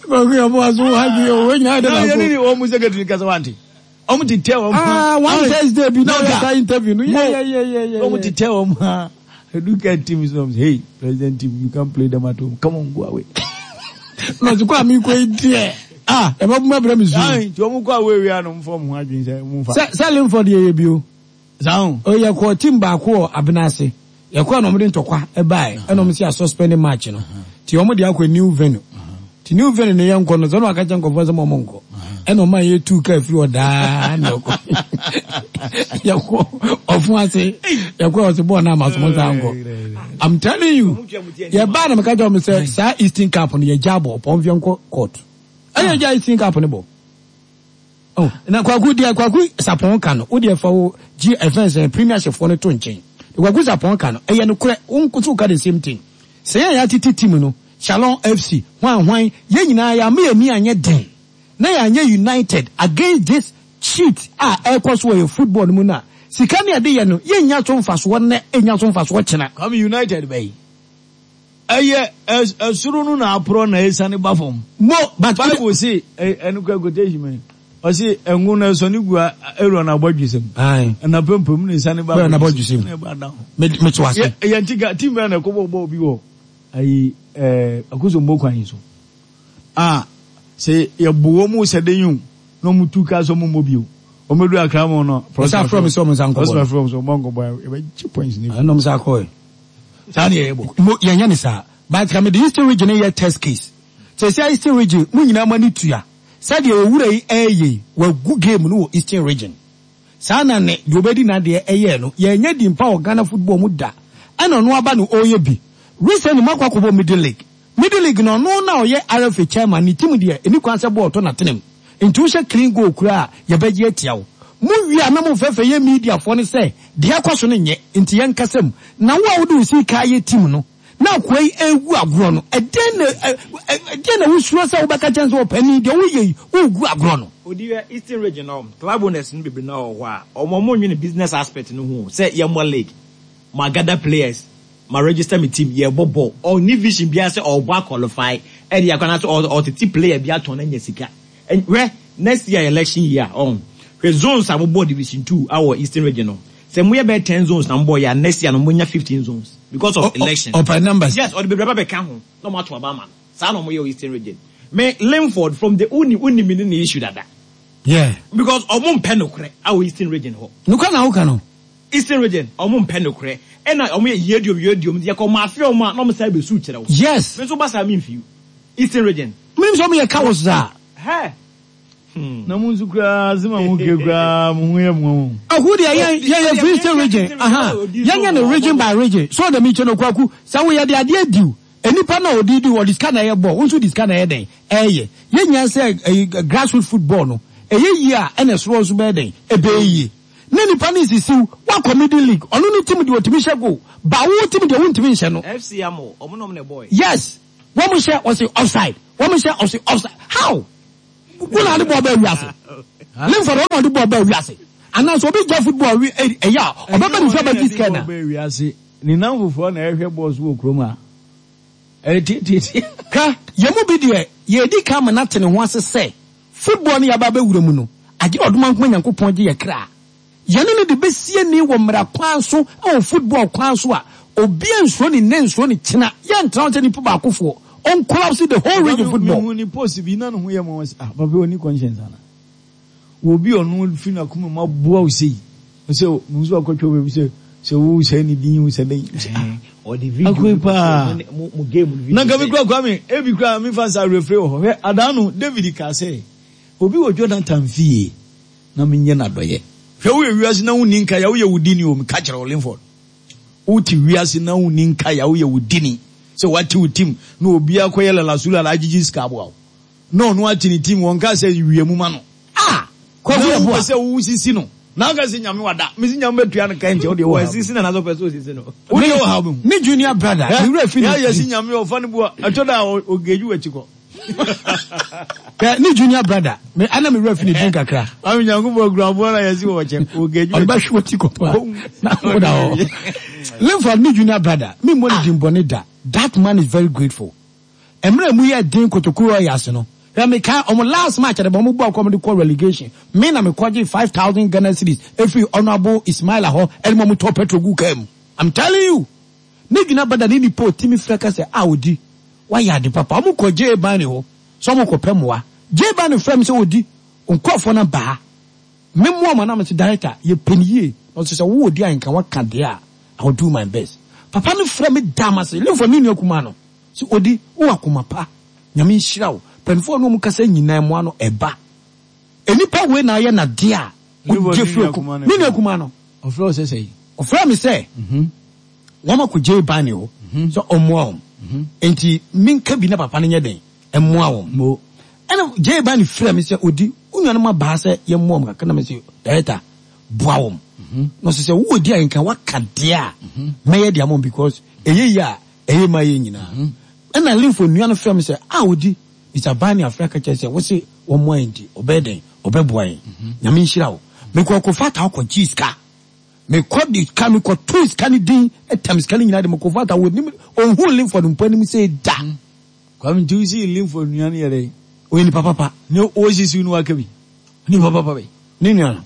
Kɔkɔ yɛ bɔ aso ha bi o wɔn nyinaa de na ko. Na yɛne ne wɔn mu secretary kasa wante. Ɔmo te tɛ wɔn. Ah one Thursday bi na ɔyɛ saa interview no. Yeah yeah yeah yeah yeah. Ɔmo te tɛ wɔn ha. Edu kɛɛte team so hey president team you can't play them at home come on go away. Na ɔsi kɔ ami kɔ yi deɛ. Ah ɛbɛ bu mɛbrɛ mi su. Ayi nti ɔmo kɔ away wia no nfɔ mo ho adwene sɛ mo nfa. Sɛ sɛ Lemford yɛ yɛ bio. Saa o. Oyɛ kɔ team baako wɔ Abenase. Yɛ kɔ na ɔmo de ntɔkwa ɛbaɛ ɛna ɔmo si a suspend match no. Ti ɔmo de akɔ new venue. Ti new venue no yɛ nkɔ no sɛ ɔno aka kyɛ nkɔfoɔ sɛ mo ɔmo nkɔ. Ɛna ɔmo a yɛ tu kaa firi ɔdaa na ɛkɔ. Yɛ kɔ ɔfun ase. Yɛ kɔ ɔsi bɔɔl naa ma so mo nsa nkɔ. I'm telling you. Yɛ baa na mo ka kyerɛ ɔmo sɛ saa Eastern Cup no yɛ gya bɔ ɔpɔn fiɛ nkɔ court. Ɛyɛ gya Eastern Cup no bɔ. Oh, na Kwaku deɛ Kwaku Sapon ka no, wo deɛ fa wo G F N sɛ premiership foɔ no to nkyɛn. Kwaku Sapon ka no, ɛyɛ no korɛ, wo nko so ka the same thing. Sɛ yɛn yɛatete team no, Shalom F C, hwan hwan, yɛn nyinaa yɛama yɛn ani anyɛ den. Na yɛanyɛ united against this cheat a ɛrekɔ so wɔ yɛ football no mu no a, sika ne yɛde yɛ no, yɛnnya so mfasoɔ nnɛ, ɛnnya so mfasoɔ kyena. Kwame United bɛyi. Ɛyɛ ɛsoro no na aporɔ na ɛsane ba fam. Mo but Bible se ɛno kura quotation mɛ. Ɔse ɛngo no ɛsɔne gu Aaron abɔdwesɛm. Aye. Ɛna pɛmpɛm na ɛsane ba Aaron abɔdwesɛm. Na ɛba down. Me me to ase. Yɛ nti ka team bɛn na ɛkɔbɔ bɔɔl bi wɔ ayi ɛɛ Akosombo kwan yi so. A sɛ yɛbo wɔn mu sɛ den yi o na wɔn tu kaa sɛ wɔn mmɔ bio. Wɔn bɛdu Accra mu no. Ɔsɛ afrɛ mi sɛ wɔn nsa nkɔbɔ. Ɔsɛ afrɛ mi sɛ wɔn nkɔbɔ yɛbɛgye points ne. Ɛna wɔn nsa akɔɛ. Saa ne yɛyɛ bɔ. Mo yɛnyɛ ne saa. But ka me de Eastern Region yɛ test case. Sɛ sɛ Eastern Region mo nyinaa mo ani tua. Sɛdeɛ owura yi ɛyɛ yi wagu game no wɔ Eastern Region. Saa na ne deɛ obɛdi n'adeɛ ɛyɛ no yɛnyɛ di mpa wɔ Ghana football mu da. Ɛna ɔno aba no ɔyɛ bi. Recently mo akɔ akɔbɔ Middle League. Middle League no ɔno na ɔyɛ R F A chairman ne team deɛ ɛni kwan sɛ bɔɔl tɔ n'atenem. Nti wohyɛ clean goal kura a yɛbɛgye atia wo. Mo wie a na mo fɛfɛ yɛ mediafoɔ no sɛ deɛ akɔ so no nyɛ nti yɛn kasa mu. Na wo a wode wo sika ayɛ team no na akoa yi egu agorɔ no ɛdeɛn na ɛdeɛn na wosuro sɛ wobɛka kyɛn sɛ ɔpanin deɛ woyɛ yi wogu agorɔ no. Odi yɛ Eastern Region no, club owners no bebree na wɔ hɔ a ɔmo ɔmo nwene business aspect no ho sɛ yɛmmɔ league, ma gather players, ma register me team, yɛbɔ ball. Ɔni vision biara sɛ ɔbɔ aqualify ɛde akɔ anaasɛ ɔtete player bi atɔn na nya sika. Hwɛ, next year election year, ɔn hwɛ zones a mobɔ division two awɔ Eastern Region no, sɛ moyɛ bɛyɛ ten zones na mobɔ yɛ a, next year no monya fifteen zones because of election. Ɔpɛ numbers. Yes, ɔde bebree ba bɛka ho na ɔmo ato aba ama no. Saa na ɔmo yɛ wɔ Eastern Region. Me Linford from the uni uni mi ne ne issue dada. Yeah. Because ɔmo mpɛ nokorɛ awɔ Eastern Region hɔ. Nokwa na woka no. Eastern Region, ɔmo mpɛ nokorɛ, ɛna ɔmo yɛ yediom yediom yɛ kɔ ɔmo afe ɔmo a na ɔmo san bɛsu kyerɛ wo. Yes. Me nso ba saa mi nfiw Eastern Region. Menim sɛ ɔmo yɛ cowards saa. Hɛ. Na mo nso koraa sɛ ma mo ke koraa mo ho yɛ mo ho. Aku deɛ yɛn yɛn yɛ free Eastern Region, aha, yɛn yɛ no region by region so dɛm ikyɛ no. Kwaku sɛ woyɛ de adeɛ diw nipa na ɔdi di ɔde sika na ɛyɛ bɔ wɔn nso de sika na ɛyɛ dɛn ɛyɛ yɛn nyinaa sɛ ɛyi grassroots football no ɛyɛ yie a ɛna ɛsoro nso bɛyɛ dɛn ɛbɛyɛ yie ne nipa ne sisiw wakɔ Middle League, ɔno ne team deɛ ɔtumi hyɛ goal ba, wo team deɛ wontumi nhyɛ no. F C Amo, ɔmo na ɔmo na ɛbɔ yɛ. Yes, wɔn mo hyɛ ɔsi offside, wɔn mo hyɛ ɔsi offside. How wọn na ɔde bɔɔl bɛɛ wiase? Linford ɔno ɔde bɔɔl bɛɛ wiase anaasɛ obi gya football wi ɛyɛ a ɔbɛbɛ ne nsa bɛgye sika na. Bɛɛ wiase ne nan foforɔ na ɛhwɛ bɔɔl so wɔ kurom a ɛyɛ tietietie. Ka yɛn mu bi deɛ yɛdi kan ma n'ate ne ho ase sɛ football no yaba abɛwura mu no agye ɔdoma nkoma Nyankopɔn gye yɛ kra yɛne no de bɛsie ni wɔ mmara kwan so, ɛwɔ football kwan so a obiara nsuro ne nne nsuro ne kyena yɛntena hɔ sɛ nipa baakofoɔ ɔncollapse the whole region football. Mehu ni post bi na ne ho yɛ ma wɔn sɛ, ah, papa oni conscience ana wɔ obi ɔno firi n'akoma mu aboa wo sei sɛ mehu sɛ wakɔtwa baabi sɛ sɛ wo sɛ ne din wo sɛ dɛn sɛ ah ɔde video Akoe paa. mo mo game no video na nka mi kura Kwame ebi kura mi fa nsa referee wɔ hɔ. Hwɛ, adaa no David ka sɛ obi wɔ Jonathan fie na mi nyɛ n'adɔyɛ. Hwɛ, woyɛ wiase na wonni nka ya woyɛ wo dini o. Mi ka kyerɛ wo, Linford, wote wiase na wonni nka ya woyɛ wo dini sɛ wate wo team na obi akɔyɛ lalasula la agyegye sika aboa wo na ɔno ate ne team wɔn ka sɛ wie mu ma no. Ah, Kwaku na yɛ wopɛ boa. Sɛ wo sisi no na aka sɛ Nyame wada mesi Nyame bɛtua no ka nkyɛ wodeɛ wɔ ha. Wɔasisi na n'asɔ pɛ sɛ osisi no. Wodeɛ wɔ ha bɛhu. Ne junior brother ne wura fi yɛ yɛ si ne Nyame ɔfa no bu a ɛtɔ da a ɔgeju w'akyi kɔ. Ɛ, ne junior brother me ana me wura fi ne din kakra. Ame Nyankopɔn kura aboa na yɛsi wɔ kyɛ ɔgeju. Ɔde bɛhwe wɔ ti kɔ paa na woda hɔ. Linford ne junior brother me mmɔ ne din bɔne da. That man is very grateful. Mmerɛ mu yɛ den Kotoko Royals no, hwɛ, meka ɔmo last match ɛdɛ bɔ ɔmo bɔ akɔ ɔmo de kɔ relegation, me na mekɔgye five thousand Ghana cedis efiri Honourable Ismaila hɔ ɛde mo ɔmo tɔ petrol gu kaa mu. I'm telling you, ne junior brother ne nipa otimi fira ka sɛ a odi wayɛ ade papa. Ɔmo kɔ gye ban ne hɔ sɛ ɔmo kɔ pɛ mmoa gye ban ne fira mi sɛ odi nkurɔfoɔ no baa memmoa ɔmo anam sɛ director yɛ pɛ ne yie na ɔsɛ sɛ wo odi a nka waka deɛ a, I will do my best. Papa no frɛ me dam ase. Lemfo ne nua kuma no sɛ odi wo akoma pa, Nyame nhyira wo. Mpanimfoɔ no ɔmo kasa nyinaa mmoa no ɛba enipa wei na ayɛ nadeɛ a wogye firi oku ne nua kuma no. Ɔfrɛ wo sɛ sɛ? Ɔfrɛ me sɛ wɔn akɔ gye ban ne hɔ sɛ ɔmmoa wɔn nti menka bi na papa no nyɛ den ɛmmoa wɔn. Mo. Ɛna gye ban ne frɛ me sɛ odi wo nuanom abaa sɛ yɛmmoa wɔn kakra na me sɛ director boa wɔn na ɔsɛ sɛ wowɔ di a nka waka deɛ a mɛyɛ deɛ ama wɔn because ɛyɛ yie a ɛyɛ ma yɛ nyinaa. Ɛna Limfo nua no frɛ me sɛ a odi Mister Bani afrɛ ka kyerɛ sɛ wose wɔmmoa yɛn nti ɔbɛyɛ dɛn ɔbɛboa yɛn. Nyame nhyira wo. Mekɔ kɔfa ta ɔkɔ gye sika Mekɔ de ka mekɔtoo sika no din tam sika no nyinaa de mekɔfa ata wɔnim ɔnhu Linford mpo anim sɛ da. Kwame nti wosi Linford nua no yɛ dɛ? Ɔyɛ nipa papa. Ne ɔsisi no waka bi. Nipa papa bɛ. Ne nua no.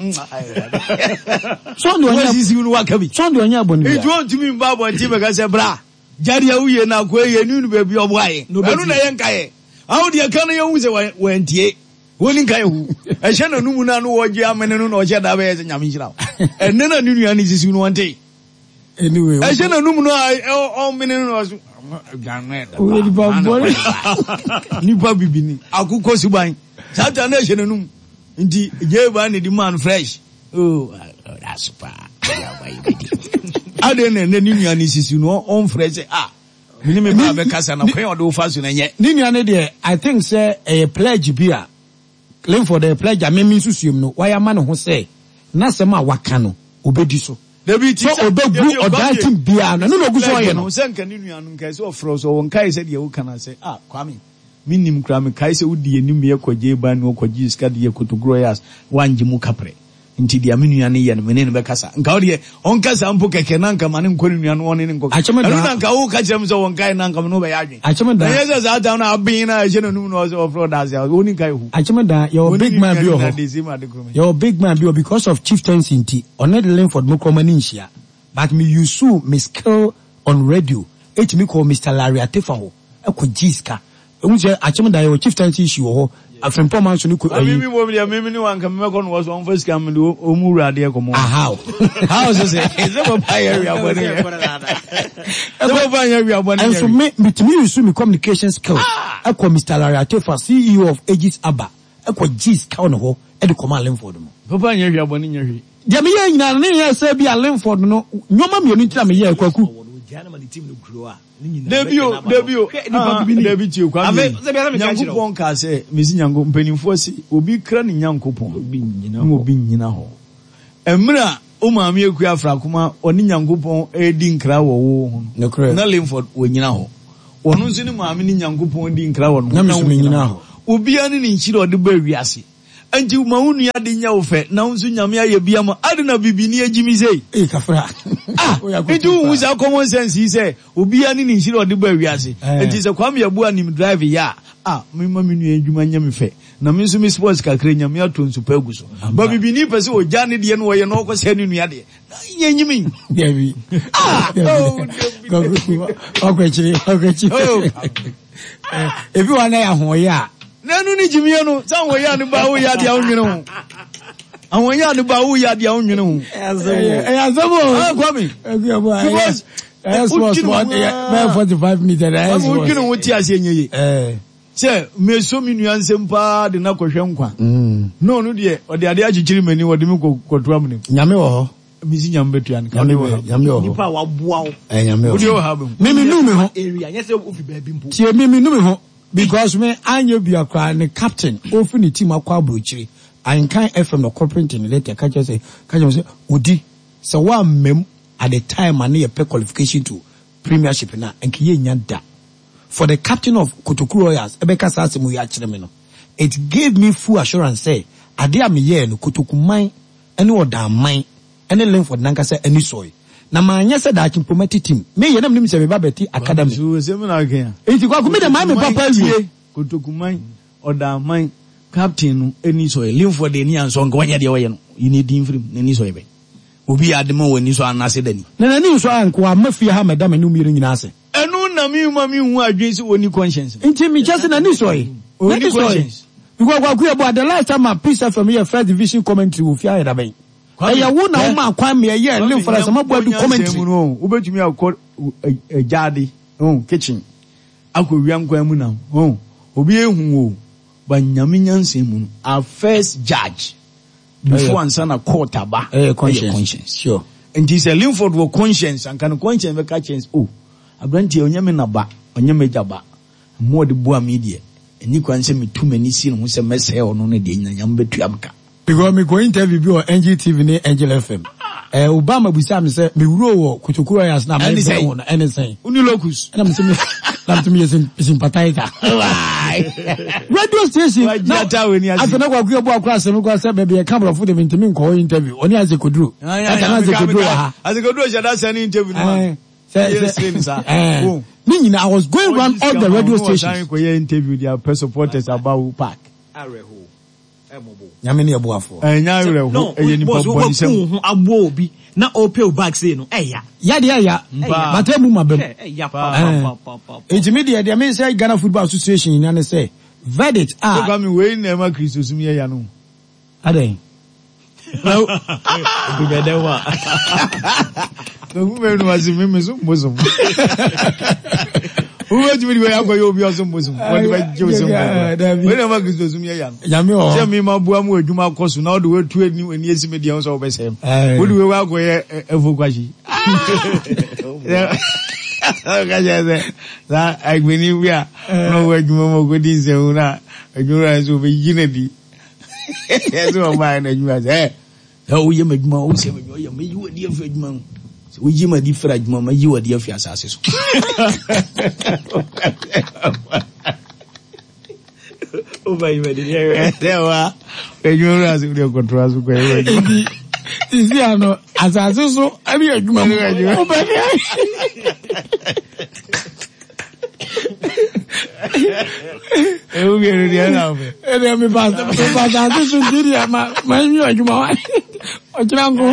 Sɔn de ɔnyɛ wɔsisi no waka bi. Sɔn de ɔnyɛ abɔne bia. Nti wɔntumi mba abɔnten bɛka sɛ bra gyadeɛ woyɛ na akoa yɛ ne nu baabi ɔboa yɛ. Ɛno na yɛ nka yɛ. Awo deɛ ka no yɛhu sɛ wɔantie. Wɔni nka yɛ hu. Ɛhyɛ n'anum no ano wɔgye amene no na ɔhyɛ da bɛyɛ sɛ Nyame nhyira wo. Ɛnɛ na ne nua no sisi no wɔnte. Anyway, ɛhyɛ n'anum no a ɔmene no na ɔso. Nipa bibini akokɔ suban. Saa ta na ɛhyɛ n'anum. Nti gye ba ne di man fresh. Oh, that's pa. Ade na ne nua no sisi no ɔmfrɛ sɛ ah mene me ba bɛkasa na kwan ɔde wo fa so na nyɛ. Ne nua no deɛ I think sɛ ɛyɛ pledge bi a Linford ɛyɛ pledge a meme nsusuam no wayɛ ama ne ho sɛ n'asɛm a waka no obɛdi so. Dabi ti sɛ ɔbɛgu ɔdan team biara no ɛno na ɔgu so ɔyɛ no. Sɛ nka ne nua no nka sɛ ɔfrɛ sɛ ɔwɔ nkae sɛ deɛ woka no sɛ ah Kwame mennim koraa mekae sɛ wodi anim yɛ kɔgye ban no ɔkɔgye sika de yɛ kotokuro yɛ as woangye mu kaprɛ nti deɛ me nua no yɛ no mene no bɛkasa nka wo deɛ ɔnkasa mpo kɛkɛ na nka ma ne nkɔ ne nua no ɔne ne nkɔ ɛno na nka woka kyerɛ m sɛ wɔnkae na nka me ne wobɛyɛ adwen Akyem da na ɛnyɛ sɛ saa tam no aben no a ɛhyɛ n'anum no ɔsɛ ɔfrɛ ɔda ase a ɔni nkae hu Akyem da yɛwɔ big man bi wɔ hɔ yɛwɔ big man bi wɔ because of chieftaincy nti ɔne Linford mo kɔma ne nhyia but me use me skill on radio ɛtumi kɔ Mister Larry Atefa hɔ ɛkɔ gye sika ɛhu sɛ Akyem da yɛwɔ chieftaincy issue wɔ hɔ Afempɔ man so ne ko ayi. Mi mi mo deɛ mi mi ni wa nka mi mɛkɔ no wɔ so ɔnfa sika mi de ɔmu wura adeɛ kɔmɔ. Aha o. How so sɛ sɛ papa yɛ wia bɔ ne yɛ. Sɛ papa yɛ wia bɔ ne yɛ. Ɛnso me mitumi use mi communication skills ɛkɔ Mister Larry Atefa C E O of Aegis Aba ɛkɔ gye sika wɔ ne hɔ ɛde kɔma Linford no. Papa yɛ wia bɔ ne nyɛ hwee. Deɛ mi yɛ nyinaa ne yɛ sɛ bi a Linford no nneɛma mmienu ntina mi yɛ Kwaku. Dabi o, dabi o, dabi tie Kwame. Nyankopɔn ka sɛ, mesi Nyankopɔn mpanimfoɔ se obi kra ne Nyankopɔn na obi nyina hɔ. Mmerɛ a o maame akua afrakoma ɔne Nyankopɔn edi nkra wɔ wo ho no, na Linford wɔnyina hɔ. Ɔno nso ne maame ne Nyankopɔn di nkra wɔ no ho na wɔnyina hɔ. Obiara ne ne nhyira ɔde ba wiase. Enti ma wo nua de nyɛ wo fɛ na wo nso Nyame ayɛ bi ama ade na bibini agyimi sei. Eh kafra. Ah, enti wo hu saa common sense yi sɛ obiara ne ne nhyira ɔde ba wiase. Enti sɛ Kwame Yeboah nim drive yɛ a, ah, me ma me nua adwuma nyɛ me fɛ. Na me nso me sports kakra Nyame ato nsu pa agu so. Ba bibini pɛ sɛ ogya ne deɛ no ɔyɛ na ɔkɔ sɛ ne nua deɛ. Na nyɛ nyimi. Dabi. Ah, oh, dabi. Ɔkwɛkyiri, ɔkwɛkyiri. Ebi wa na yɛ ahoɔyɛ a. Nanu ni jimiye no sɛ ahoɔyɛ a ne ba woyɛ adeɛ a wonwene ho. Ahoɔyɛ a ne ba woyɛ adeɛ a wonwene ho. Ɛyɛ asɛm o. Ah Kwame. Because ɛyɛ small small bɛyɛ forty five minutes ɛyɛ small. Wodwene ho te aseɛ nyɛ yie. Sɛ meso me nua nsɛm paa de na kɔhwɛ nkwa. Na ɔno deɛ ɔde adeɛ akyekyere m'ani ɔde me kɔto amene mu. Nyame wɔ hɔ. Mesi Nyame bɛtua no. Nyame wɔ hɔ. Nipa a waboa wo. Nyame wɔ hɔ. Wode wɔ ha bɛhu. Me me nu me ho. Area nyɛ sɛ wofi baabi mpo. Tie me me nu me ho. Because me anya bia kra ne captain ofi ne team akɔ abrochire Ahenkan F M na ɔkɔ ne letter ka kyerɛ sɛ ka kyerɛ sɛ odi sɛ wa mmam at the time ane yɛ pɛ qualification to premiership na nka yɛ nya da for the captain of Kotoku Royals ɛbɛka saa asɛm yi akyerɛ me no it gave me full assurance sɛ ade a meyɛɛ no Kotoku man ɛne ɔdan man ɛne Linford nankasa ani sɔe na maanyɛ sɛ daakye mpo mɛte team meyɛ na menim sɛ meba bɛte academy nti Kwaku me de maa me papa awie Kotokuman ɔdaman captain no ani sɔe Linford ani ansɔ nka wɔnyɛ deɛ wɔyɛ no yi ne din firim n'ani sɔe bɛ obi yɛ ade ma wɔ ani sɔ anaasɛ dani na n'ani nsɔ a nko ama fie ha mɛda m'anim mmienu nyinaa ase ɛno na me ma me hu adwene sɛ wɔni conscience nti mekyɛ sɛ n'ani sɔe n'ani sɔe because Kwaku yɛ bɔ the last time a Peace F M yɛ first division commentary wɔ fie ayɛ dabɛn ɛyɛ wo na wo ma kwan me ɛyɛ Linford asɛm aboa du commentary wobɛtumi akɔ gyaade kitchen akɔ wia nkwan mu na obi ehu wo ba Nyame nyansa mu no our first judge before ansa na court aba ɛyɛ conscience sure nti sɛ Linford wɔ conscience anka no conscience bɛka chance oh abranteɛ ɔnyɛ me na ba ɔnyɛ me gya ba mo de boa me deɛ ɛni kwan sɛ metu m'ani si ne ho sɛ mɛsɛe ɔno no deɛ nyina Nyame bɛtua me ka. Because me go interview bi wɔ N G T V ne Angel F M. Eh, Obama busa me sɛ mewuro wɔ Kotoku Royals na Ɛne mebɛ sɛn? ho no ɛne sɛn? Woni locus. Ɛna mesɛ me na mesɛ meyɛ sym- sympathizer. Radio station Wagye na ata w'ani ase. afei na Kwaku Yeboah akora asɛm koraa sɛ baabi yɛka borɔfo de mentumi nkɔ hɔ interview ɔne Isaac Oduro. Ɛka na Isaac Oduro wɔ ha. Isaac Oduro hyɛ da sɛ ne interview no ma. Eh, sɛ Yɛ sɛ sere ne saa. eh, Oh. ne nyinaa I was going round all the radio stations. Kɔyɛ interview de apɛ supporters aba wo park. Awerɛhoɔ. Ɛmmɔbɔ. Nyame ne yɛboafoɔ. Ɛnyɛ awerɛho, ɛyɛ nipa boss, bɔne sɛm. waku wo ho aboɔ obi na ɔpɛ wo bag sei no ɛya. Yɛdeɛ ɛya. Mpaa. Bata mu ma bɛm. Hwɛ, ɛya pa pa pa pa pa. Nti me deɛ deɛ me sɛ Ghana Football Association nyinaa ne sɛ verdict a Sɛ Kwame wei na ɛma Kristosom yɛ ya no. adɛn. Obi bɛdɛ wo a. Kwaku mɛnu ase me me so mbosom. Wobɛtumi de wei akɔyɛ obi ɔso mbosom. Wɔde bɛgye wo sɛ mbosom. Wei na ɛma Kristosom yɛ ya no. Nyame wɔ Sɛ hɔ. me ma boa mu adwuma kɔ so na wode watu ani ani asi me deɛ ho sɛ wobɛsɛe m. Ɛɛ. Wode wei akɔyɛ ɛfo kwahye. Ɔka kyerɛ sɛ saa agbani bi a na ɔwɔ adwuma mu ɔkɔdi nsɛmhu no a adwuma wura no sɛ ɔbɛyi no adi. Ɛsɛ ɔbaeɛ no adwuma sɛ ɛ sɛ woyɛ m'adwuma wosɛ m'adwuma woyɛ mɛyi w'adi afiri adwuma mu. Sɛ woyi m'adi firi adwuma mu mɛyi w'adi afiri asase so. Woba yi bɛde deɛ hwɛ. Ɛsɛ wa adwuma wura sɛ wode kɔtoa so kɔyɛ w'adwuma. Nti sisi ano asase so ɛne adwuma mu. Wobɛ deɛ. Ɛwo mmienu deɛ na wopɛ. Ɛdeɛ mepa mepa asase so nti deɛ ma ma nwi adwuma wa. Ɔkyena nko.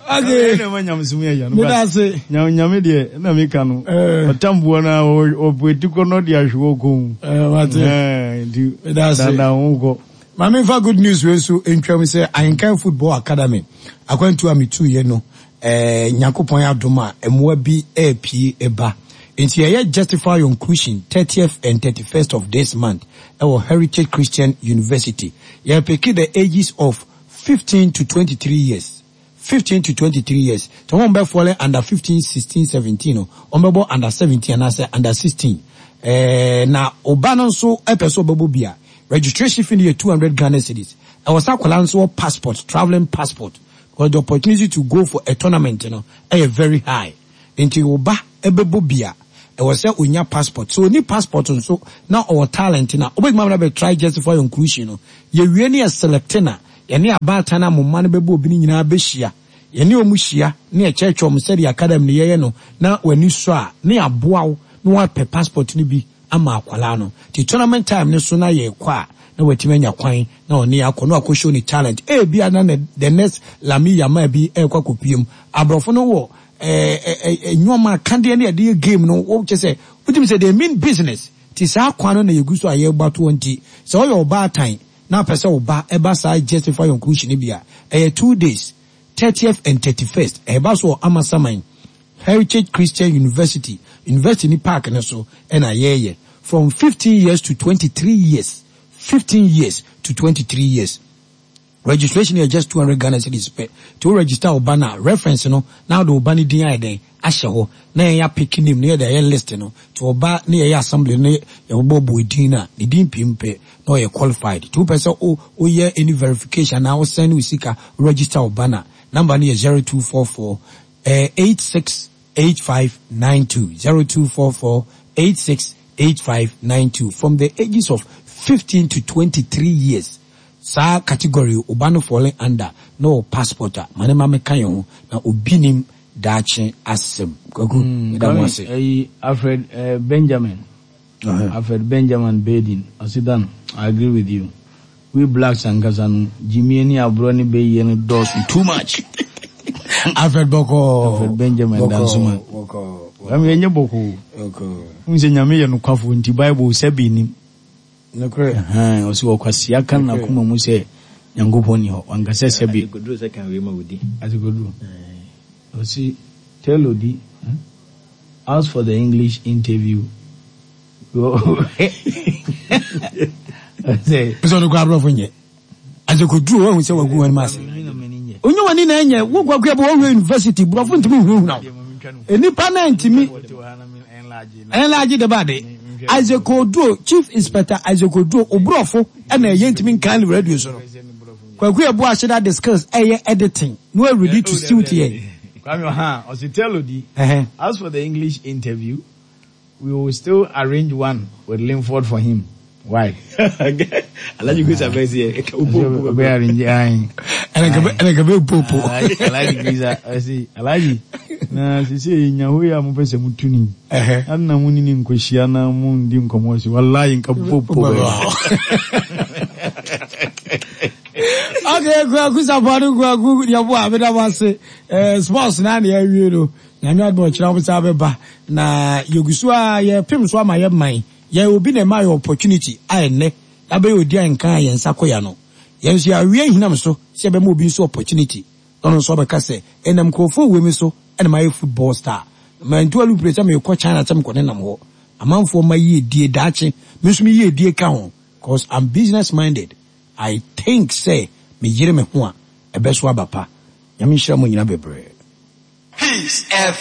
Okay. Ɛna ɛma nyamesom yɛ ya no. Meda ase. Nyame nyame deɛ na meka no. Eh. Ɔtamboɔ no a ɔpɛti kɔ no de ahwe wɔ kɔn mu. Eh, wate. Eh, nti Meda ase. dandan ho kɔ. Maame nfa good news wei nso ntwam sɛ Ahenkan Football Academy akwantu a metuiɛ no eh, Nyankopɔn adom a mmoa bi ɛrepie ɛba. Nti yɛyɛ Justify Your Inclusion thirtieth and thirty-first of this month ɛwɔ Heritage Christian University. Yɛpeke the ages of fifteen to twenty-three years. fifteen to twenty-three years. So wɔn bɛ fall under fifteen, sixteen, seventeen no, wɔn bɛbɔ under seventeen anaasɛ under sixteen. Eh, na ɔba no nso ɛpɛ sɛ ɔbɛbɔ bi a, registration fee no yɛ two hundred Ghana cedis. Ɛwɔ sɛ akwadaa nso wɔ passport, travelling passport, because the opportunity to go for a tournament no ɛyɛ very high. Nti ɔba ɛbɛbɔ bi a, ɛwɔ sɛ onya passport. So oni passport nso na ɔwɔ talent na ɔbɛtumi amena bɛ try Justify Your Inclusion no. Yɛwie ne yɛ select na yɛne abaatan na mo mma no bɛbɔ obi no nyinaa bɛhyia. Yɛne ɔmo hyia ne yɛkyerɛkyerɛ ɔmo sɛdeɛ academy no yɛyɛ no na w'ani sɔ a ne yɛaboa wo na woapɛ passport no bi ama akwalaa no. Nti tournament time no so na yɛkɔ a na watumi anya kwan na ɔne akɔ na wakɔ show ne talent. Ebia na ne the next Lamine Yamal bi ɛrekɔ akɔpie mu. Aborɔfo no wɔ eh, eh, eh, nneɛma akadeɛ ne yɛde yɛ game no wo kyɛ sɛ wotumi sɛ they mean business. Nti saa kwan no na yɛgu so a yɛrebɔ atoɔ nti sɛ ɔyɛ ɔbaatan na apɛ sɛ ɔba ɛba saa Justify Your Inclusion no bi a ɛyɛ two days, thirtieth and thirty-first. Ɛba so wɔ Amasaman Heritage Christian University, University ni park no so ɛna yɛyɛ from fifteen years to twenty-three years. fifteen years to twenty-three years. Registration yɛ just two hundred Ghana cedis pɛ. Nti wo register wo ba na reference no na wode wo ba no din ayɛ dɛn ahyɛ hɔ na yɛn apeke name na yɛde ayɛ list no. Nti wo ba ne yɛyɛ assembly no yɛbɛbɔ bɔ din na ne din pii pɛ na ɔyɛ qualified. Nti wopɛ sɛ wo woyɛ any verification na wo send wo sika register wo ba na number no yɛ zero two four four eh, eight six eight five nine two, zero two four four eight six eight five nine two from the ages of fifteen to twenty-three years. Saa category oba no falling under no passport a mane ma meka yɛn ho na obi nim daakye asɛm. Kwaku, meda mo ase. Ɛyi Alfred eh, Benjamin. Uh-huh. Alfred Benjamin Bedin. Ɔsi I agree with you. We blacks ankasa no Jimmy ni aborɔ ne bɛyie no dɔɔso too much. Alfred Boko. Alfred Benjamin Boko, Dansuma. Boko. Kwame yɛnyɛ bɔkɔɔ. Boko. N sɛ Nyame yɛ nokwafo nti Bible sɛ bi nim. Nokorɛ. Ɛhɛn, ɔsi ɔkwasea ka n'akoma mu sɛ Nyankopɔn ni hɔ. Wankasa sɛ bi. Adekoduro sɛ kan wei ma wodi. Adekoduro. Ɔsi tell Odi, hmm? Ask for the English interview. Ɔsɛ. Pɛsɛ ɔno kora aborɔfo nyɛ. Adekoduro wahu sɛ wagu wɔn mu ase. Onye wani na ɛnyɛ wo kwaku ɛbɔ wɔwura university borɔfo ntumi nhunahuna wo. Enipa na ntumi ɛnlaagye de ba de. Isaac Oduro, Chief Inspector Isaac Oduro, oborɔfo ɛna ɛyɛ ntumi nkan ne radio so no. Kwaku Yeboah ahyɛ da de skills ɛyɛ editing na wa ready to suit yɛn. Kwame Oha, ɔsi tell Odi, Ɛhɛn. as for the English interview, we will still arrange one with Linford for him. Why? Alhaji Grace Abesi, Ɔbɛ arrange ayi. Ɛna nka bɛ popo. Alhaji Grace ɔsi Alhaji na sisi nyaho yi a mo pɛ sɛ mo tu ni. Ɛhɛ. Ana mo ni ni nkohyia na mo ndi nkɔmɔ si wallahi nka popo bɛ. Okay, Kwaku Sapɔn Kwaku Yeboah abeda mo ase. Eh, sports na na yɛawie no. Nyame adom ɔkyerɛ wo sa bɛba. Na yɛgu so a yɛpem so ama yɛ man. Yɛ obi na ɛma yɛ opportunity a ɛnnɛ abɛyɛ odi a nka a yɛn nsa kɔ ya no. Yɛn nso yɛawie hinam so sɛ yɛbɛma obi nso opportunity. Na ɔno nso ɔbɛka sɛ ɛnam nkurɔfoɔ wɔ mi so ɛna mayɛ football star. Mantu alupere sɛ mekɔ China sɛ mekɔ nenam hɔ. Amanfoɔ ma yie die daakye. Me nso me yie die ka ho. Cause I'm business minded. I think sɛ me yere me ho a ɛbɛ so aba pa. Nyame nhyira mo nyina bebree. Peace F M.